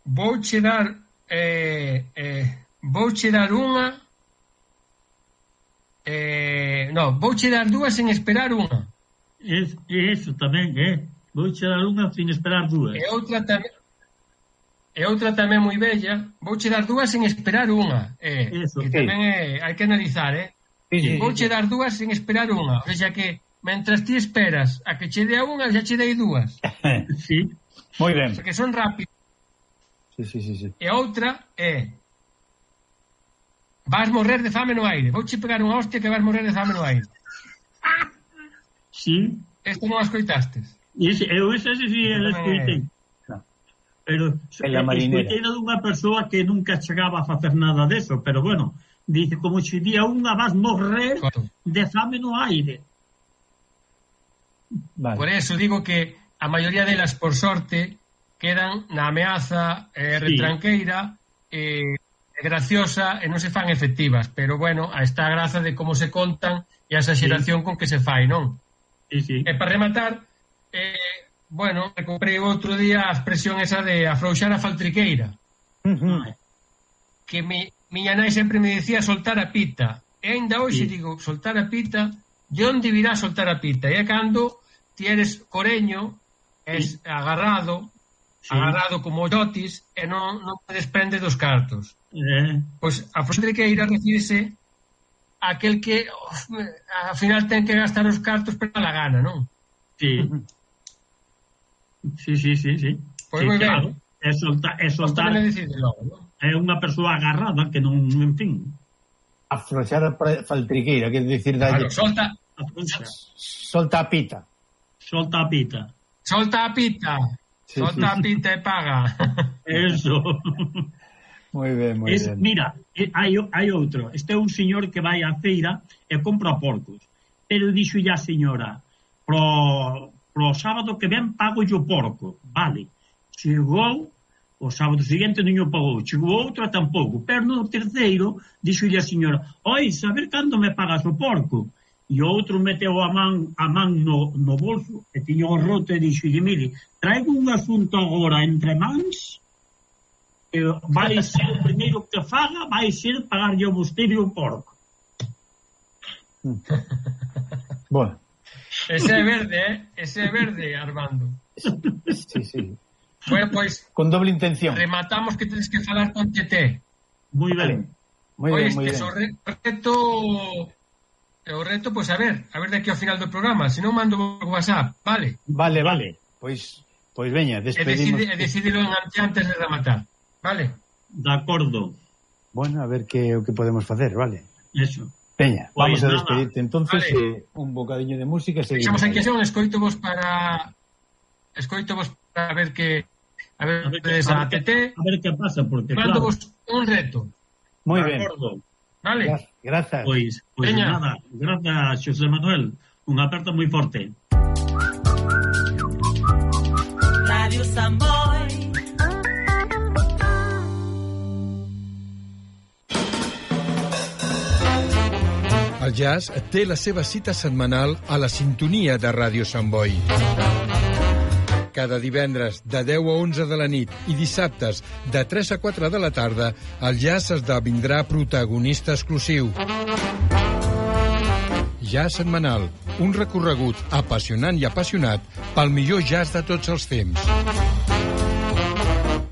vouche dar unha, vouche dar dúas sen esperar unha. Eso tamén, vouche dar unha sin esperar dúas. E outra tamén moi bella: vouche dar dúas sen esperar unha. Que tamén hai que analizar, vouche dar dúas sen esperar unha. O sea que, mentras ti esperas a que che dea unha, xa che dei dúas. Sí. Moi ben. Porque son rápidos. Sí. E outra vas morrer de fame no aire. Vouche pegar unha hostia que vas morrer de fame no aire. Sí. Esto non as coitastes? Eu esa sí la escoitei. Pero escoitei dunha persoa que nunca chegaba a facer nada deso, pero bueno, dice, como se día unha vas morrer de fame no aire. Vale. Por eso digo que a maioría delas, por sorte, quedan na ameaza retranqueira, graciosa, e non se fan efectivas, pero bueno, está a graza de como se contan e a exageración con que se fai, non? Sí. E para rematar, bueno, comprei outro día a expresión esa de afrouxar a faltriqueira, que miña nai sempre me decía soltar a pita, e ainda hoxe digo, soltar a pita, de onde virá soltar a pita? E é cando ti eres coreño, es agarrado como yotis, e non te desprende dos cartos. Pois a faltriqueira refírese a aquel que ao final ten que gastar os cartos para la gana, non? Sí. Pois moi ben. É soltar. É unha persoa agarrada que non, en fin. Afrouxar a faltriqueira, quer dicir dalle. Solta a pita. Solta a pita. Solta a pita. Solta a pita e paga. Eso. Moi ben. Mira, hai outro. Este é un señor que vai á feira e compra porcos. Pero dixo a señora, pro sábado que ven pago yo porco. Vale. Chegou o sábado seguinte non o pagou. Chegou outra tampouco. Pero no terceiro dixo a señora, oi, saber cando me pagas o porco? e o outro meteu a man no bolso e tiña o roto e dixo, mire, traigo un asunto agora entre mans, vai ser o primeiro que faga, vai ser pagarlle o vostede o porco. Bueno. Ese é verde, Armando. Sí. Bueno, pois... Con doble intención. Rematamos que tens que falar con Tete. Moi ben. Moi ben. O reto, pois a ver de aquí ao final do programa, se non mando por WhatsApp, vale? Vale. Pois veña, despedimos. E decidilo antes de rematar, vale? De acordo. Bueno, a ver o que podemos facer, vale? Eso. Veña, Pues vamos a despedirte entonces, vale. Un bocadiño de música e seguimos. Fixamos aquí a escoitovos para ver que a ver que pasa, porque mando vos un reto. Moi ben. Vale. Grazas. Pois nada, grazas, Xosé Manuel. Un aperto moi forte. Radio Samboy. El jazz té la seva cita setmanal a la sintonia de Ràdio Sant Boi. Cada divendres de 10 a 11 de la nit i dissabtes de 3 a 4 de la tarda, el jazz esdevindrà protagonista exclusiu. Jazz setmanal, un recorregut apassionant i apassionat pel millor jazz de tots els temps.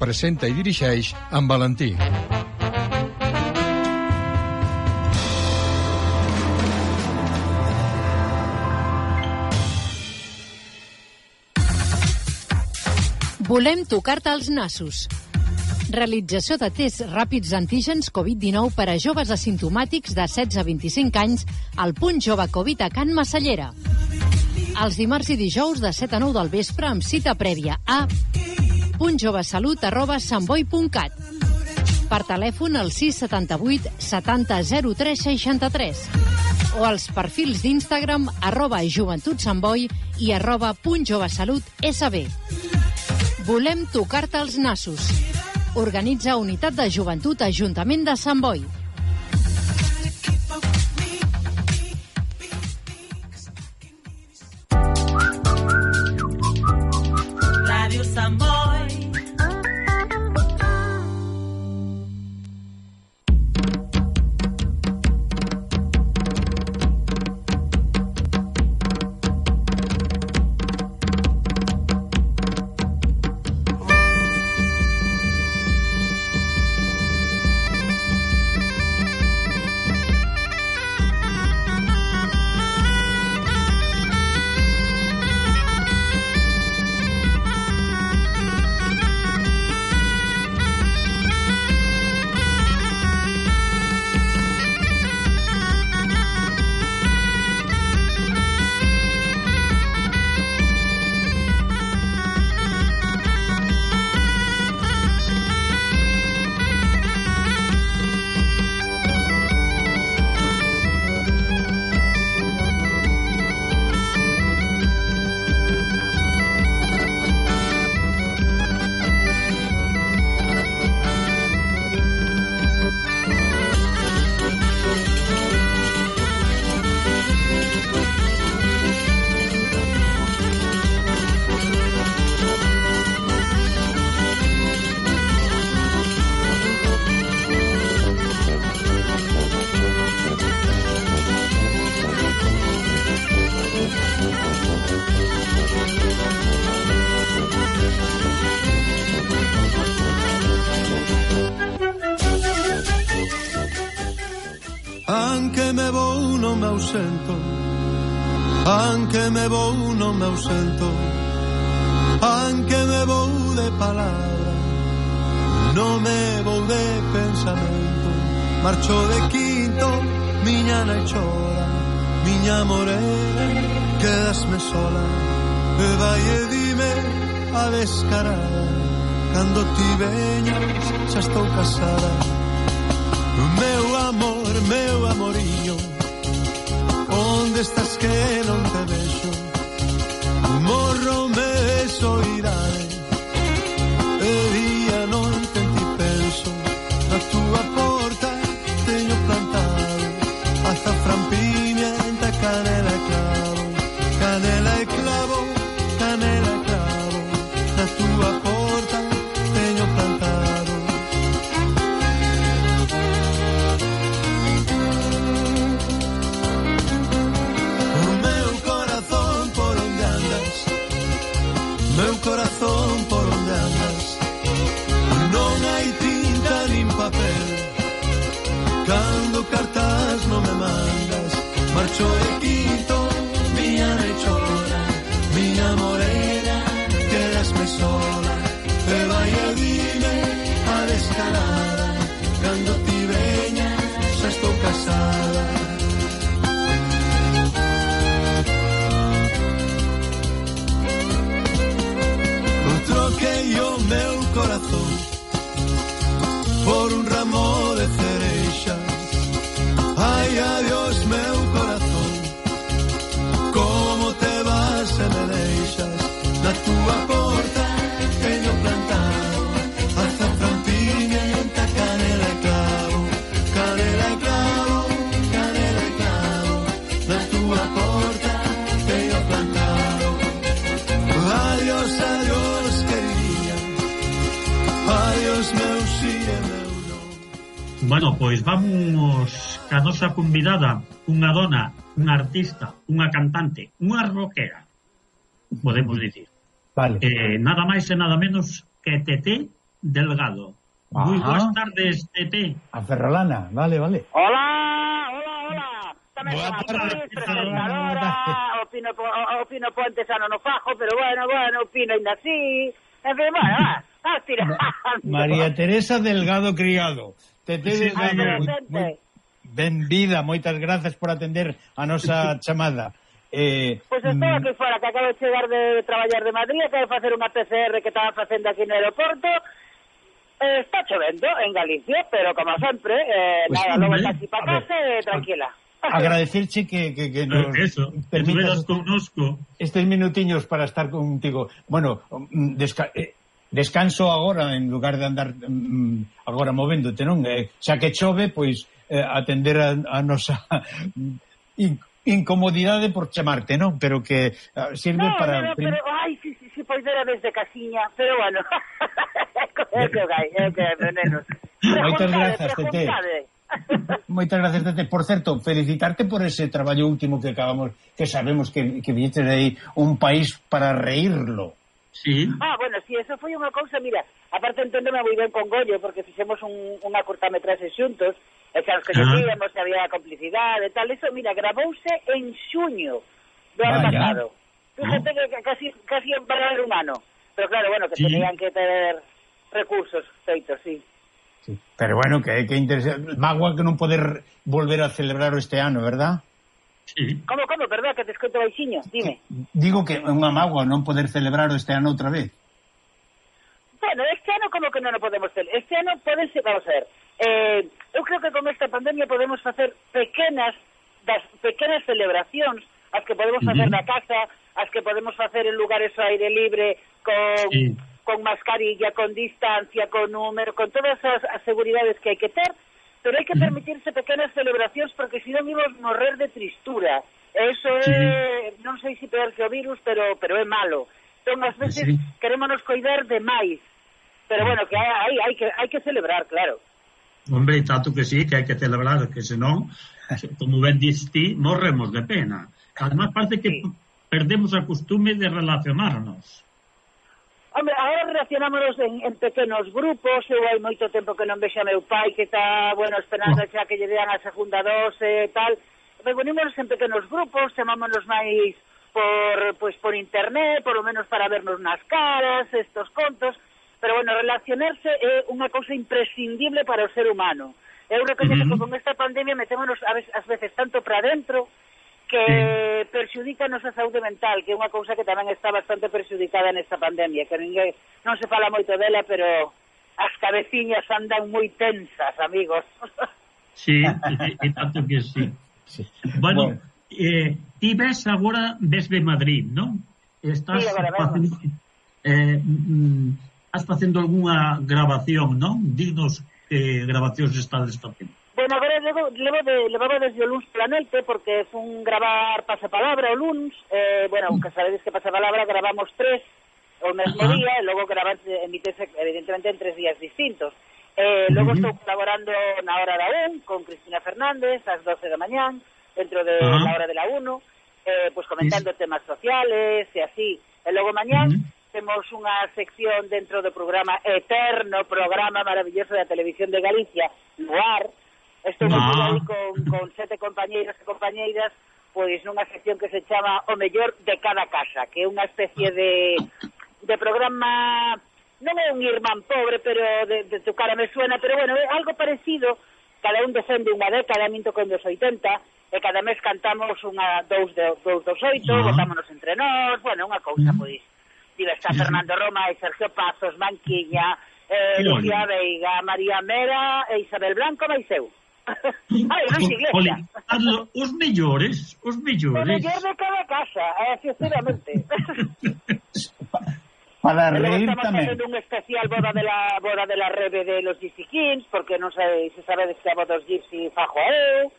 Presenta i dirigeix en Valentí. Volem tocar-te els nassos. Realització de tests ràpids antígens Covid-19 per a joves asimptomàtics de 16 a 25 anys al Punt Jove Covid a Can Massallera. Els dimarts i dijous de 7 a 9 del vespre amb cita prèvia a puntjovesalut@santboi.cat. Per telèfon al 678 70 03 63 o als perfils d'Instagram @joventutsantboi i @puntjovesalutsb. Volem tocar-te els nassos. Organitza Unitat de Joventut Ajuntament de Sant Boi. Radio Sant Boi. Anche me vou non me ausento, anche me vou non me ausento, anche me vou de palabra, non me vou de pensamento. Marcho de quinto, miña nai chora, miña morena, quedasme sola, e vai e dime a descarada, cando ti veñas xa estou casada. Meu amorillo, onde estás que non te vexo? Morro me de soidade, e día noite en ti penso. Na túa porta teño plantado azafrán, pimienta, canela. Nacho de Quinto, miña rechona, miña morena, quedasme sola, e vai e dime a descarada, cando ti veña, xa estou casada. Troquei o meu corazón por un ramo de cereixas. Ai, adiós, meu corazón, como te vas e me deixas. Na túa porta teño plantado azafrán, pimienta, canela e clavo, canela e clavo, canela e clavo. Na túa porta teño plantado. Adiós, adiós, queridinha, adiós, meu si e meu non. Bueno, pois vamos ca nosa convidada, unha dona, unha artista, unha cantante, unha rockera, podemos dicir. Vale. Nada máis e nada menos que Tete Delgado. Moi boas tardes, Tete. A Ferrolana, vale. Hola. Tamén son actriz, presentadora, o Pino Ponte xa non o fajo, pero bueno, o Pino ainda así. En fin, bueno, va, tira. María Teresa Delgado Criado. Tete Delgado, benvida, moitas grazas por atender a nosa chamada. Pois estou aquí fora, que acabo de chegar de traballar de Madrid, acabo de facer unha PCR que estaba facendo aquí no aeroporto. Está chovendo en Galicia, pero como sempre, nada, logo está aquí para casa, tranquila. Agradecerche que nos permitas connosco estes minutiños para estar contigo. Bueno, descanso agora en lugar de andar agora movéndote, non? Xa que chove, pois atender a nosa incomodidade por chamarte, non? Pero que sirve para... Pero, ai, si pois era desde casiña, pero bueno, é que venenos. Moitas grazas, Tete. Moitas gracias, Tete. Por certo, felicitarte por ese traballo último que acabamos, que sabemos que viñetes aí, Un país para reírlo. Sí. Bueno, si, eso foi unha cousa, mira, aparte enténdeme moi ben con Goyo, porque fixemos unha curtametraxe xuntos, e xa nos coñecíamos, había complicidade e tal, eso, mira, gravouse en xuño do ano pasado. Fíjate que casi en parar humano, pero claro, bueno, que tenían que ter recursos feitos, sí. Sí. Pero bueno, que interesante. Magua que non poder volver a celebrar este ano, verdad? Sí. Como, verdad, que te escoito baixiño, dime. Digo que é unha magua non poder celebrar este ano outra vez. Bueno, este ano como que non o podemos celebrar. Este ano podense, vamos a ver, eu creo que con esta pandemia podemos facer pequenas celebracións, as que podemos facer na casa, as que podemos facer en lugares ao aire libre, con mascarilla, con distancia, con número, con todas as seguridades que hai que ter, pero hai que permitirse pequenas celebracións porque senón imos morrer de tristura. Eso é, non sei se peor que o virus, pero é malo. Entón, ás veces querémonos coidar de máis. Pero bueno, que hai que celebrar, claro. Hombre, tanto que sí, que hai que celebrar, que senón, como ben dis ti, morremos de pena. Además, parece que perdemos a costume de relacionarnos. Hombre, agora relacionámonos en pequenos grupos. Eu hai moito tempo que non vexo a meu pai, que está, bueno, esperando xa que lle dean a segunda dose e tal. Reunímonos en pequenos grupos, chamámonos máis por internet, por lo menos para vernos nas caras, estos contos. Pero, bueno, relacionarse é unha cousa imprescindible para o ser humano. Eu reconhezo que con esta pandemia metémonos ás veces tanto para dentro que perxudica a nosa saúde mental, que é unha cousa que tamén está bastante perxudicada nesta pandemia, que non se fala moito dela, pero as cabeciñas andan moi tensas, amigos. Sí, e tanto que sí. Bueno, ti ves agora desde Madrid, non? Estás facendo algunha grabación, non? Dinos que grabacións estades facendo. Bueno, agora levaba desde o luns pola noite, porque fun gravar Pasapalabra o luns, bueno, que sabedes que Pasapalabra gravamos 3 o mesmo día, e logo emitese evidentemente en 3 días distintos. Logo estou colaborando na Hora da 1 con Cristina Fernández ás 12 da mañán, dentro de la Hora de la 1, pues comentando temas sociales e así. E logo mañán temos unha sección dentro do programa eterno, programa maravilloso da Televisión de Galicia, Noir. Estou aí con 7 compañeiros e compañeiras, pois nunha sección que se chama O Mellor de Cada Casa, que é unha especie de programa, non é un irmán pobre, pero de tu cara me suena, pero bueno, é algo parecido, cada un defende unha década, a min tocou dos 80, e cada mes cantamos dous dos 8, votámonos entre nós, bueno, unha cousa, pois, está Fernando Roma e Sergio Pazos, Manquiña, Lucía Veiga, María Mera e Isabel Blanco, máis eu. Ai, non se iglesia. Os mellores. O mellor de cada casa, sinceramente. Para reír estamos tamén. facendo un especial boda de la Rebe de los Gypsy Kings, porque non sei se sabedes que a boda dos Gypsy fajo eu.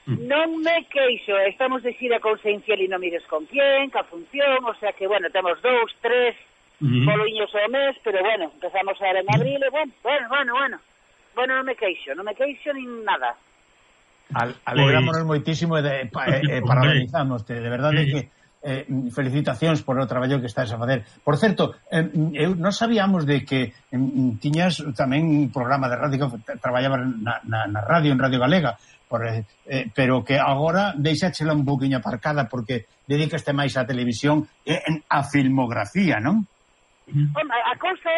Non me queixo, estamos de xira con Sein Fiel e non mires con quién, ca función, o sea que, bueno, temos 2, 3 boliños ao mes, pero bueno, empezamos a ver en abril, e bueno, non me queixo nin nada. Alegrámonos moitísimo e parabenizámoste, de verdade que felicitacións por o traballo que estás a facer. Por certo, non sabíamos de que tiñas tamén un programa de radio que traballaba na radio, en Radio Galega, pero que agora deixáchela un poquinho aparcada porque dedicaste máis á televisión e a filmografía, non? A cousa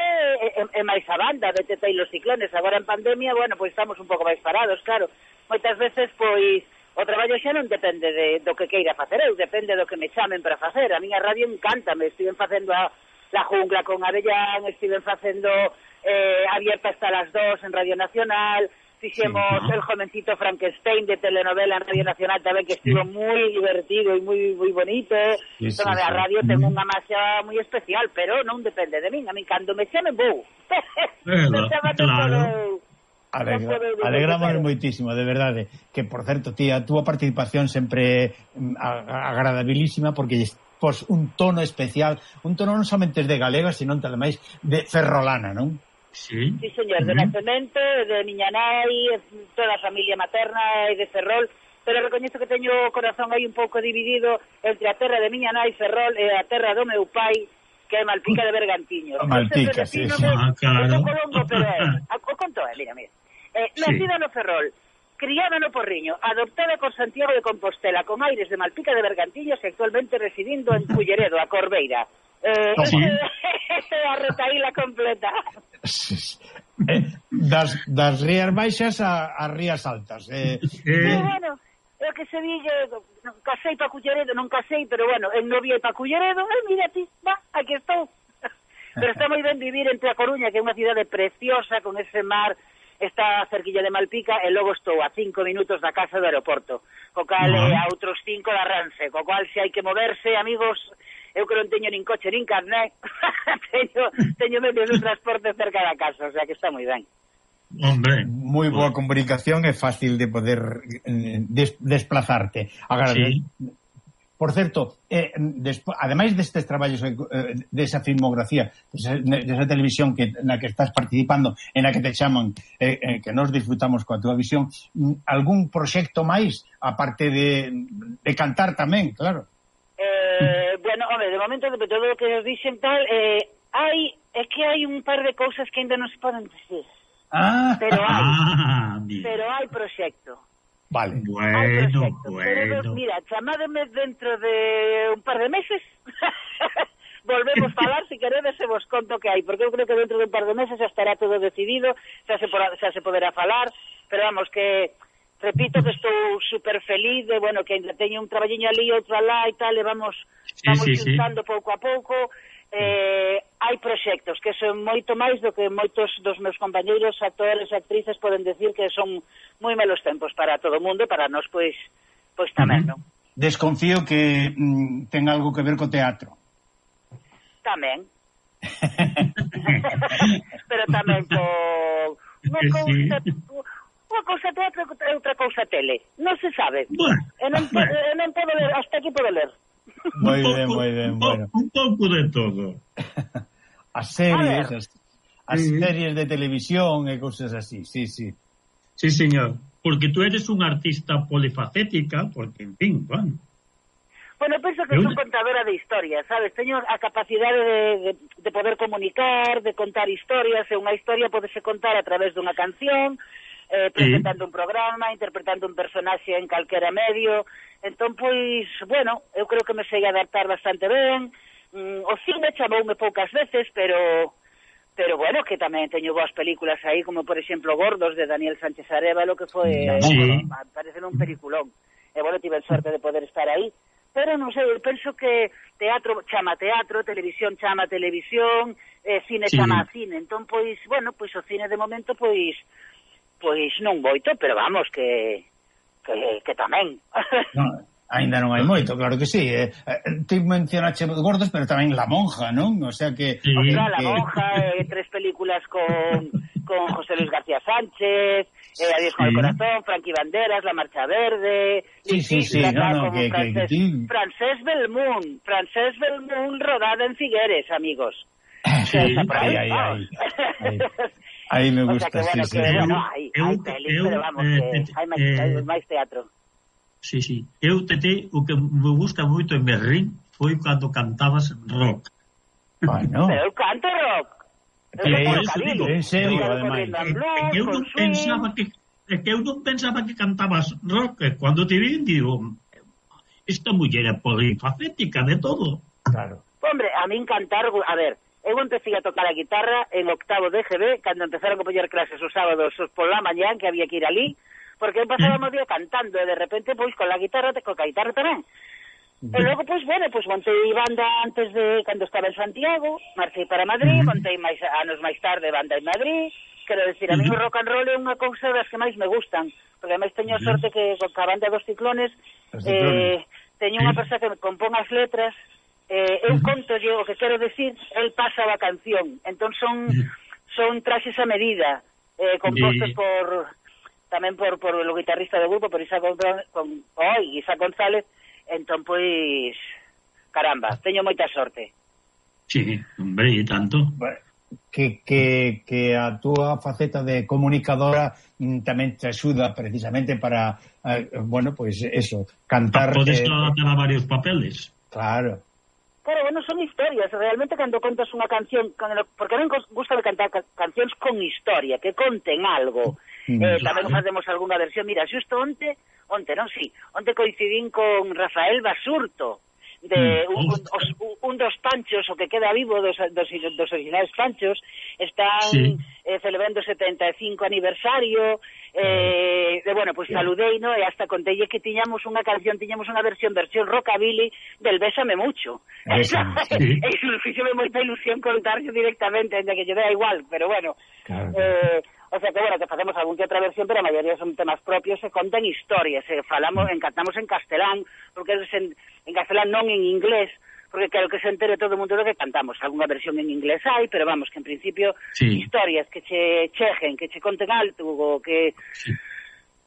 é máis a banda de Teta e los Ciclones. Agora en pandemia, bueno, pois estamos un pouco máis parados, claro. Moitas veces, pois, o traballo xa non depende do que queira facer eu, depende do que me chamen para facer. A miña radio encántame, estiven facendo La Jungla con Avellán, estiven facendo Abierta hasta las 2 en Radio Nacional, fixemos El jovencito Frankenstein de telenovela en Radio Nacional tamén, que estivo moi divertido e moi bonito. A radio ten unha masa moi especial, pero non depende de min. A min, cando me chamen, vou. Claro. Alegramos moitísimo, de verdade, que por certo, tía, a túa participación sempre agradabilísima porque pos un tono especial, un tono non somente de galega, sino tamén máis de ferrolana, non? Sí, señor, de nacemento, de miña nai, toda a familia materna e de Ferrol, pero recoñezo que teño o corazón aí un pouco dividido entre a terra de miña nai, Ferrol, e a terra do meu pai, que é Malpica de Bergantiños. Malpica, sí. Claro. O conto é, mira. Nacida no Ferrol, criada no Porriño, adoptada por Santiago de Compostela, con aires de Malpica de Bergantiños e actualmente residindo en Culleredo, a Corbeira. A retaíla completa. Das rías baixas a rías altas. Bueno, é que se digue, non casei pa Culleredo, non casei, pero bueno, en novia pa Culleredo, mira ti, aquí estou. Pero está moi ben vivir entre a Coruña, que é unha cidade preciosa, con ese mar, está cerquilla de Malpica, e logo estou a 5 minutos da casa do aeroporto, co cal a outros 5 da Rance, co cual se hai que moverse, amigos, eu que non teño nin coche nin carné, teño medios de transporte cerca da casa, o sea que está moi ben. Hombre, moi boa comunicación, é fácil de poder desplazarte. Sí. Por certo, ademais destes traballos desa filmografía, desa televisión na que estás participando, en a que te chaman, que nos disfrutamos coa túa visión, algún proxecto máis, aparte de cantar tamén, claro? Bueno, hombre, de momento, de todo o que nos dixen tal, é que hai un par de cousas que ainda non se poden decir. Pero hai proxecto. Vale. Bueno. Pero, mira, chamádeme dentro de un par de meses. Volvemos a falar, se queredes, se vos conto que hai, porque eu creo que dentro de un par de meses xa estará todo decidido, xa se poderá falar, pero vamos, que repito que estou super feliz de, bueno, que ainda teño un traballiño ali, outro alá e tal, e vamos xuntando pouco a pouco. Hai proxectos que son moito máis do que moitos dos meus compañeiros actores e actrices poden decir que son moi malos tempos para todo o mundo, para nós pois tamén, non? Desconfío que ten algo que ver co teatro. Tamén. Pero tamén unha cousa teatro e outra cousa tele. Non se sabe. Non podo ler, hasta aquí podo ler. Moi ben, bueno. Un pouco de todo. As series de televisión e cousas así, sí. Sí, señor. Porque tú eres unha artista polifacética, porque, en fin, bueno. Bueno, penso que son contadora de historias, sabes? Teño a capacidade de poder comunicar, de contar historias, e unha historia podese contar a través dunha canción, presentando un programa, interpretando un personaxe en calquera medio. Entón, pois, bueno, eu creo que me sei adaptar bastante ben. O cine chamoume poucas veces, pero bueno, que tamén teño boas películas aí, como por exemplo Gordos, de Daniel Sánchez Arévalo, que foi, parece un peliculón. E bueno, tive sorte de poder estar aí. Pero non sei, penso que teatro chama teatro, televisión chama televisión, cine chama cine. Entón, pois, bueno, pois o cine de momento, pois non moito, pero vamos, que tamén. No, ainda non hai moito, claro que sí. Ti mencionaste Gordos, pero tamén La Monja, non? O sea que... La Monja, 3 películas con José Luis García Sánchez, Adiós con el corazón, Frankie Banderas, La Marcha Verde... Francesc Belmont, rodada en Figueres, amigos. Sí, aí me gusta, o sea que, sí. Hai pelis, pero vamos, hai máis teatro. Sí. Eu, Tete, o que me gusta moito en Berrín foi cando cantabas rock. Bueno. Pero eu canto rock. En serio, ademais. Eu non pensaba que cantabas rock. Cando te vi, digo, esta muller é polifacética de todo. Claro. Hombre, a min cantar, a ver, eu empecé a tocar a guitarra en octavo de GB, cando empezaron a poñer clases os sábados pola mañán, que había que ir ali, porque eu pasaba o día cantando, e de repente, pois, con a guitarra tamén. E logo, pois, bueno, pois montei banda antes de, cando estaba en Santiago, marchei para Madrid, montei anos máis tarde banda en Madrid. Quero decir, a mí o rock and roll é unha cousa das que máis me gustan, porque ademais teño a sorte que con a banda dos Ciclones teño unha persoa que me compón as letras, eu conto o que quero decir, el pasa a canción, entón son traxes a medida, compostos tamén por o guitarrista do grupo, por Isaac González. Entón, pois, caramba, teño moita sorte. Sí, hombre, e tanto. Que a túa faceta de comunicadora tamén te axuda precisamente para, bueno, pois eso, cantar... Podes adaptar a varios papeles. Claro. Claro, bueno, son historias. Realmente, cando contas unha canción, porque a mí gusta de cantar cancións con historia, que conten algo. Tamén facemos algunha versión. Mira, xusto onte coincidín con Rafael Basurto, de un dos Panchos, o que queda vivo dos originales Panchos, están celebrando o 75 aniversario, bueno, pues saludei, ¿no? E hasta conteille que tiñamos unha versión rockabilly del Bésame Mucho. Eso fixome moita ilusión contarse directamente, ainda que lle dea igual, pero bueno. Claro. O sea que, bueno, que facemos algún que outra versión, pero a maioría son temas propios, se contan historias, cantamos en castelán, porque en castelán non en inglés, porque claro que se entere todo o mundo do que cantamos. Algunha versión en inglés hai, pero vamos, que en principio historias que che chejen, que che conten algo, o que...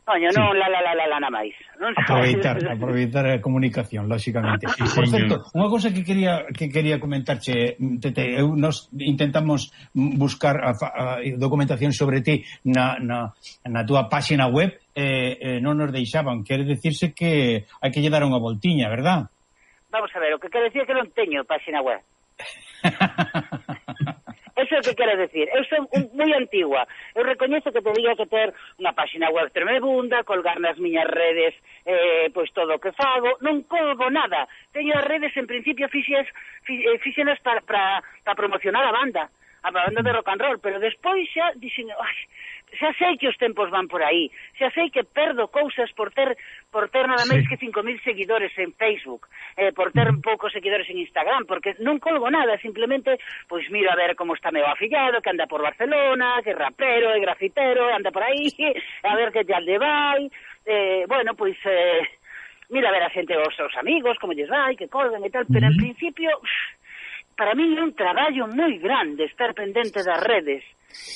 Coño, non nada máis. Aproveitar a comunicación, lógicamente. Por certo, unha cousa que quería comentarche, Tete, nos intentamos buscar a documentación sobre ti na túa páxina web, non nos deixaban. Quere decirse que hai que lle dar unha voltiña, verdad? Vamos a ver, o que quero decir é que non teño páxina web. Eso é o que quero decir. Eu son moi antigua. Eu recoñezo que teria que ter unha páxina web tremebunda, colgar nas miñas redes pois todo o que fago. Non colgo nada. Teño as redes, en principio, fixenas para promocionar a banda de rock and roll, pero despois xa dixen, xa sei que os tempos van por aí, xa sei que perdo cousas por ter nada máis que 5.000 seguidores en Facebook, por ter poucos seguidores en Instagram, porque non colgo nada, simplemente pois miro a ver como está meu afillado, que anda por Barcelona, que é rapero, é grafitero, anda por aí, a ver que tal lle vai, bueno, pois mira a ver a xente, os seus amigos, como lles vai, que colgan e tal, pero en principio... Para mí é un traballo moi grande estar pendente das redes.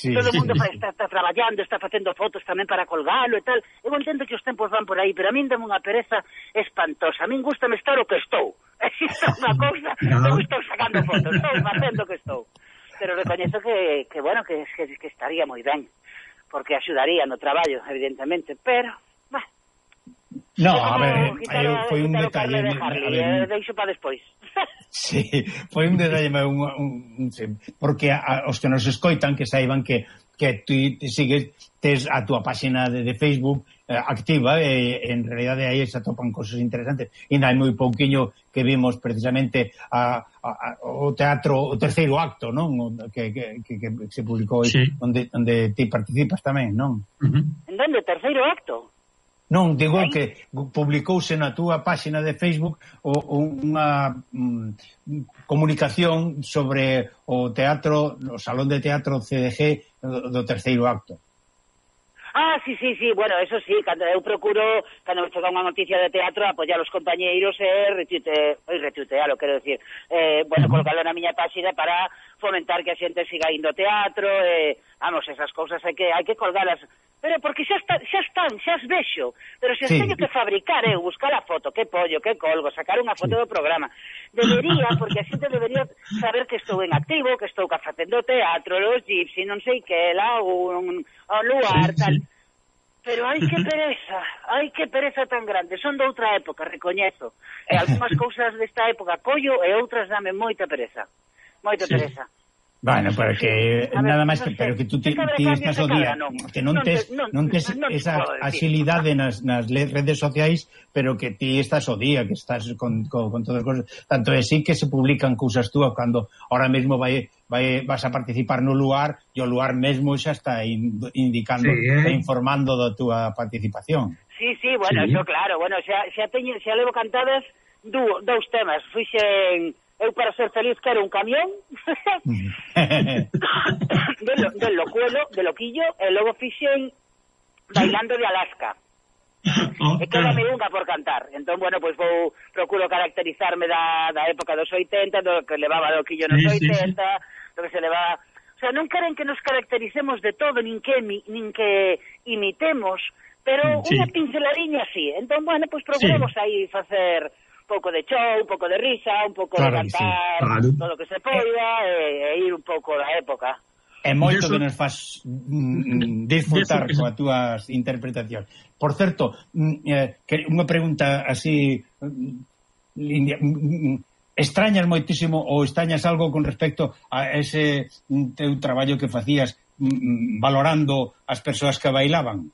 Todo o mundo está traballando, está facendo fotos tamén para colgalo e tal. Eu entendo que os tempos van por aí, pero a min dame unha pereza espantosa. A min gustame estar o que estou. Existe unha cousa, non estou sacando fotos, estou facendo o que estou. Pero recoñezo que bueno, que estaría moi ben, porque axudaría no traballo, evidentemente, pero... No, a ver, foi un detalle... Deixo para despois. Sí, foi un detalle, porque os que nos escoitan que saiban que ti sigues tes a túa páxina de Facebook activa, e en realidade aí se atopan cosas interesantes. Ainda hai moi pouquiño que vimos precisamente o teatro, o terceiro acto, non? Que se publicou aí, onde ti participas tamén, non? En donde, terceiro acto? Non, digo que publicouse na túa páxina de Facebook unha comunicación sobre o teatro, o Salón de Teatro CDG do terceiro acto. Sí, bueno, eso sí, cando eu procuro, cando me chega unha noticia de teatro, apoiar os compañeiros e retuitealo, quero decir, bueno, colocalo na miña páxina para fomentar que a xente siga indo ao teatro, vamos, esas cousas hai que colgalas, pero porque xa as vexo, pero se as teño que fabricar, buscar a foto, que pollo, que colgo, sacar unha foto do programa, debería, porque a xente debería saber que estou en activo, que estou facendo teatro, los Gypsy, non sei que, un lugar, tal. Pero hai que pereza tan grande. Son de outra época, recoñezo. E algunhas cousas desta época collo e outras dame moita pereza. Moita pereza. Bueno, pero que nada máis que pero que tú ti estás o día, que non tes esa agilidade nas redes sociais, pero que ti estás o día, que estás con todas as cousas. Tanto é así que se publican cousas túas cando ahora mesmo vas a participar no lugar e o lugar mesmo xa está indicando, informando da túa participación. Sí, bueno, eso claro, bueno, xa levo cantadas dous temas. Fixen eu para ser feliz quero un camión de loquillo, e logo fixen Bailando de Alaska. E quédame unha por cantar. Entón, bueno, pois procuro caracterizarme da época dos 80, do que levaba loquillo nos 80, do que se leva... O sea, non queren que nos caractericemos de todo, nin que imitemos, pero unha pinceladiña así. Entón, bueno, pois procuramos aí facer un pouco de show, un pouco de risa, un pouco de cantar, todo o que se poida, e ir un pouco da época. É moito que nos faz disfrutar coas túas interpretacións. Por certo, unha pregunta así, extrañas moitísimo ou extrañas algo con respecto a ese teu traballo que facías valorando as persoas que bailaban?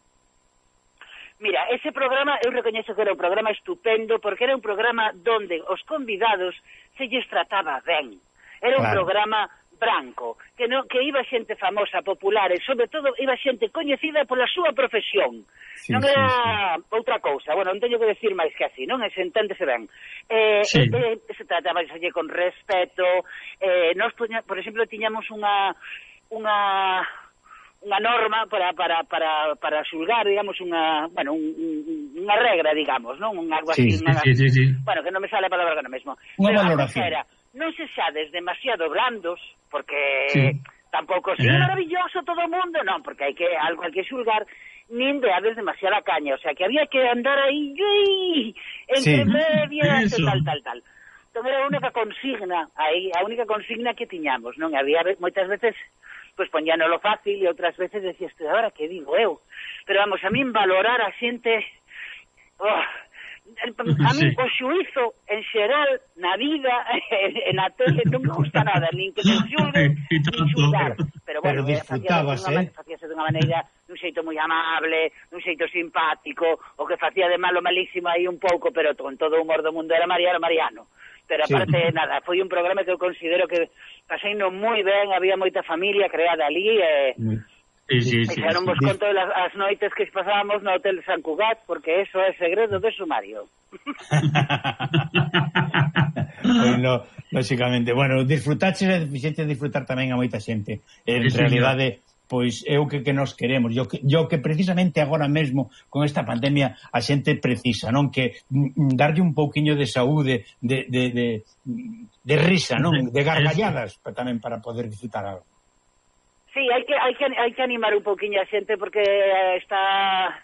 Mira, ese programa, eu recoñezo que era un programa estupendo, porque era un programa donde os convidados se lles trataba ben. Era un programa branco, que iba xente famosa, popular, e sobre todo iba xente coñecida pola súa profesión. Non era outra cousa, bueno, non teño que decir máis que así, non? Se enténdese ben. Se trataba con respeto, nós, por exemplo, tiñamos unha norma para xulgar, digamos, unha regra, digamos, non? Algo así, bueno, que non me sale a palabra agora mesmo. Unha valoración. Non se xades demasiado blandos, porque tampouco é maravilloso todo o mundo, non, porque algo hai que xulgar, nin de haber demasiada caña, o sea, que había que andar aí entre medias, tal. Entón era a única consigna, a única consigna que tiñamos, non? Había moitas veces pois poñánolo fácil e outras veces decías, agora que digo eu? Pero vamos, a min valorar a xente... a min o xuízo en xeral na vida e na tele non me gusta nada, nin que me xulguen nin xulgar, pero bueno, facíase dunha maneira, dun xeito moi amable, dun xeito simpático, o que facía de malo malísimo aí un pouco, pero con todo o humor do mundo era Mariano. Pero aparte, nada, foi un programa que eu considero que paseino moi ben, había moita familia creada ali e xa non vos conto as noites que pasábamos no Hotel San Cugat, porque eso é segredo de sumario. Bueno, lógicamente, bueno, disfrutaches e fixete disfrutar tamén a moita xente. En realidade, pois é o que nos queremos. Yo que precisamente agora mesmo con esta pandemia a xente precisa, non? Que darlle un pouquiño de saúde, de risa, non? De gargalladas tamén para poder disfrutar algo. Sí, hai que animar un pouquiño a xente porque esta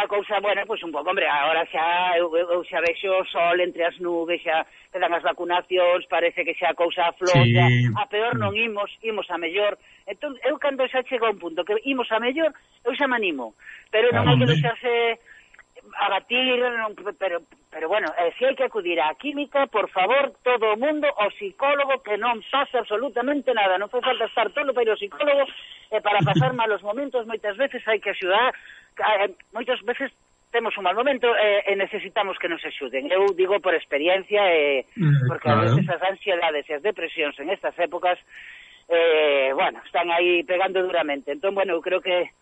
cousa, bueno, pois un pouco, hombre, agora xa eu xa vexo o sol entre as nubes, xa quedan as vacunacións, parece que xa a cousa afloxa, a peor non imos a mellor. Entón, eu cando xa chego a un punto que imos a mellor, eu xa me animo, pero non hai que deixarse abatir, pero bueno, se hai que acudir á química, por favor, todo o mundo, o psicólogo, que non pasa absolutamente nada, non fai falta estar todo para o psicólogo, para pasar malos momentos, moitas veces hai que axudar, moitas veces temos un mal momento e necesitamos que nos axuden. Eu digo por experiencia, porque a veces as ansiedades e as depresións en estas épocas, bueno, están aí pegando duramente. Entón, bueno, eu creo que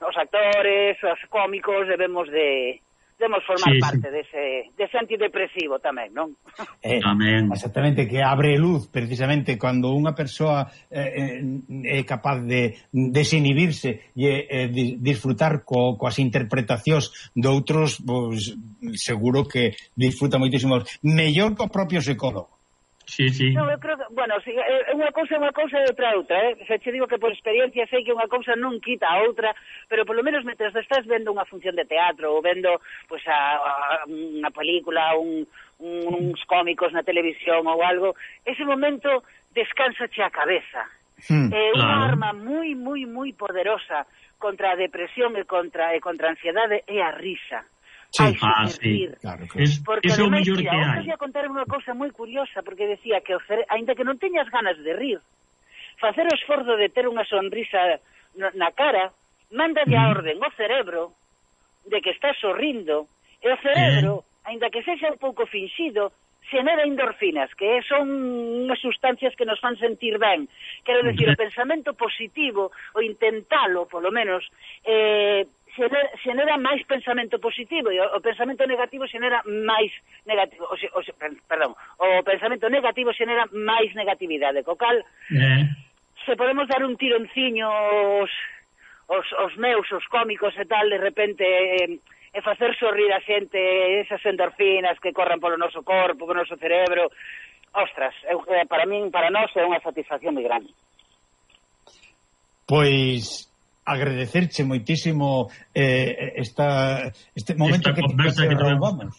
os actores, os cómicos debemos formar parte dese antidepresivo tamén, non? Tamén. Exactamente, que abre luz precisamente cando unha persoa é capaz de desinhibirse e disfrutar coas interpretacións de outros, pois seguro que disfruta moitísimo mellor co propio psicólogo. Sí. No, eu creo que, bueno, si, unha cousa e outra outra, Se che digo que por experiencia sei que unha cousa non quita a outra, pero polo menos mentre estás vendo unha función de teatro ou vendo pois unha película, uns cómicos na televisión ou algo, ese momento descánsache a cabeza. Unha arma moi, moi, moi poderosa contra a depresión e contra a ansiedade é a risa. Sí, claro. Porque é o ademais, mellor que hai. Eu quería contar unha cousa moi curiosa, porque decía que aínda que non teñas ganas de rir, facer o esforzo de ter unha sonrisa na cara, mándale a orden ao cerebro de que estás sorrindo, e o cerebro, aínda que sexa un pouco finxido, xenera endorfinas, que son unhas sustancias que nos fan sentir ben. Quero dicir, o pensamento positivo, o intentalo, polo menos, xenera máis pensamento positivo, e o pensamento negativo xenera máis negativo, o pensamento negativo xenera máis negatividade, co cal se podemos dar un tironciño os meus, os cómicos e tal, de repente e facer sorrir a xente, esas endorfinas que corran polo noso corpo, polo noso cerebro, ostras, para nós é unha satisfacción moi grande. Pois agradecerche moitísimo este momento esta conversa que roubamos.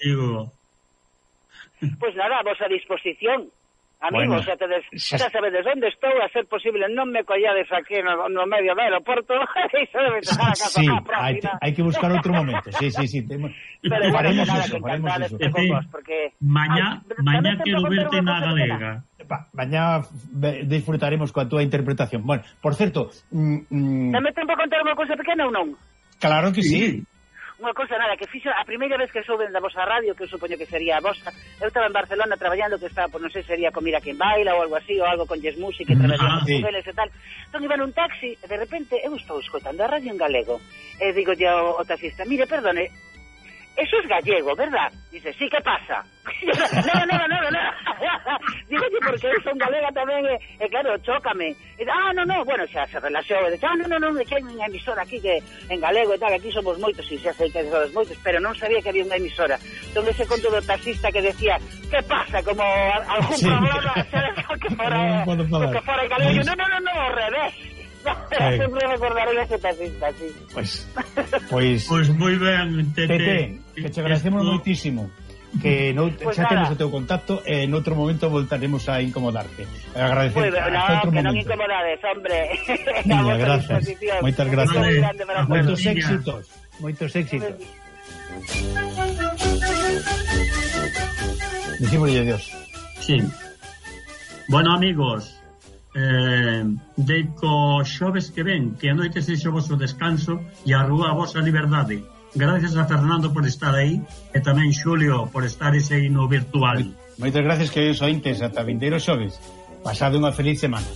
Pois nada, vos a disposición, amigos, xa sabedes onde estou, a ser posible non me collades aquí no medio do aeroporto e xa debe chegar a casa próxima. Hai que buscar outro momento, sí. Pero faremos eso. Mañá quero verte na galega. Mañá disfrutaremos coa túa interpretación. Bueno, por certo... Dame tempo a contar unha cousa pequena ou non? Claro que sí. Unha cousa nada, que fixo a primeira vez que souben da vosa radio, que eu supoño que sería a vosa, eu estaba en Barcelona traballando, que estaba, non sei, sería con Mira Quen Baila ou algo así, ou algo con Yes Music, que traballamos con eles e tal. Entón iba nun taxi, e de repente eu estou escoitando a radio en galego, e digo ao taxista, mire, perdone, eso es gallego, ¿verdad? Dice, sí, ¿qué pasa? No. Digo, porque eu son galega tamén, e claro, chócame. E, no, bueno, xa se relaxou, e dice, no, que hai unha emisora aquí que en galego e tal, aquí somos moitos, e xa sei que somos moitos, pero non sabía que había unha emisora. Entón ese conto do taxista que decía, ¿qué pasa? Como algún problema, que fora galego. No, ao revés. Sempre recordaré ese taxista, sí. Pois moi ben, Tete, que te agradecemos moitísimo, que xa temos o teu contacto e en outro momento voltaremos a incomodarte. Agradecer que non incomodades, hombre. Gracias. Moitas gracias. Moitos éxitos. Decímoslle adiós. Sí. Bueno, amigos, deico xoves que ven, que a noite sexo o vosso descanso e a rúa a vosa liberdade. Gracias a Fernando por estar aí e tamén Xulio por estar ese aí no virtual. Moitas gracias, queridos ointes, ata vindeiro xoves. Pasade unha feliz semana.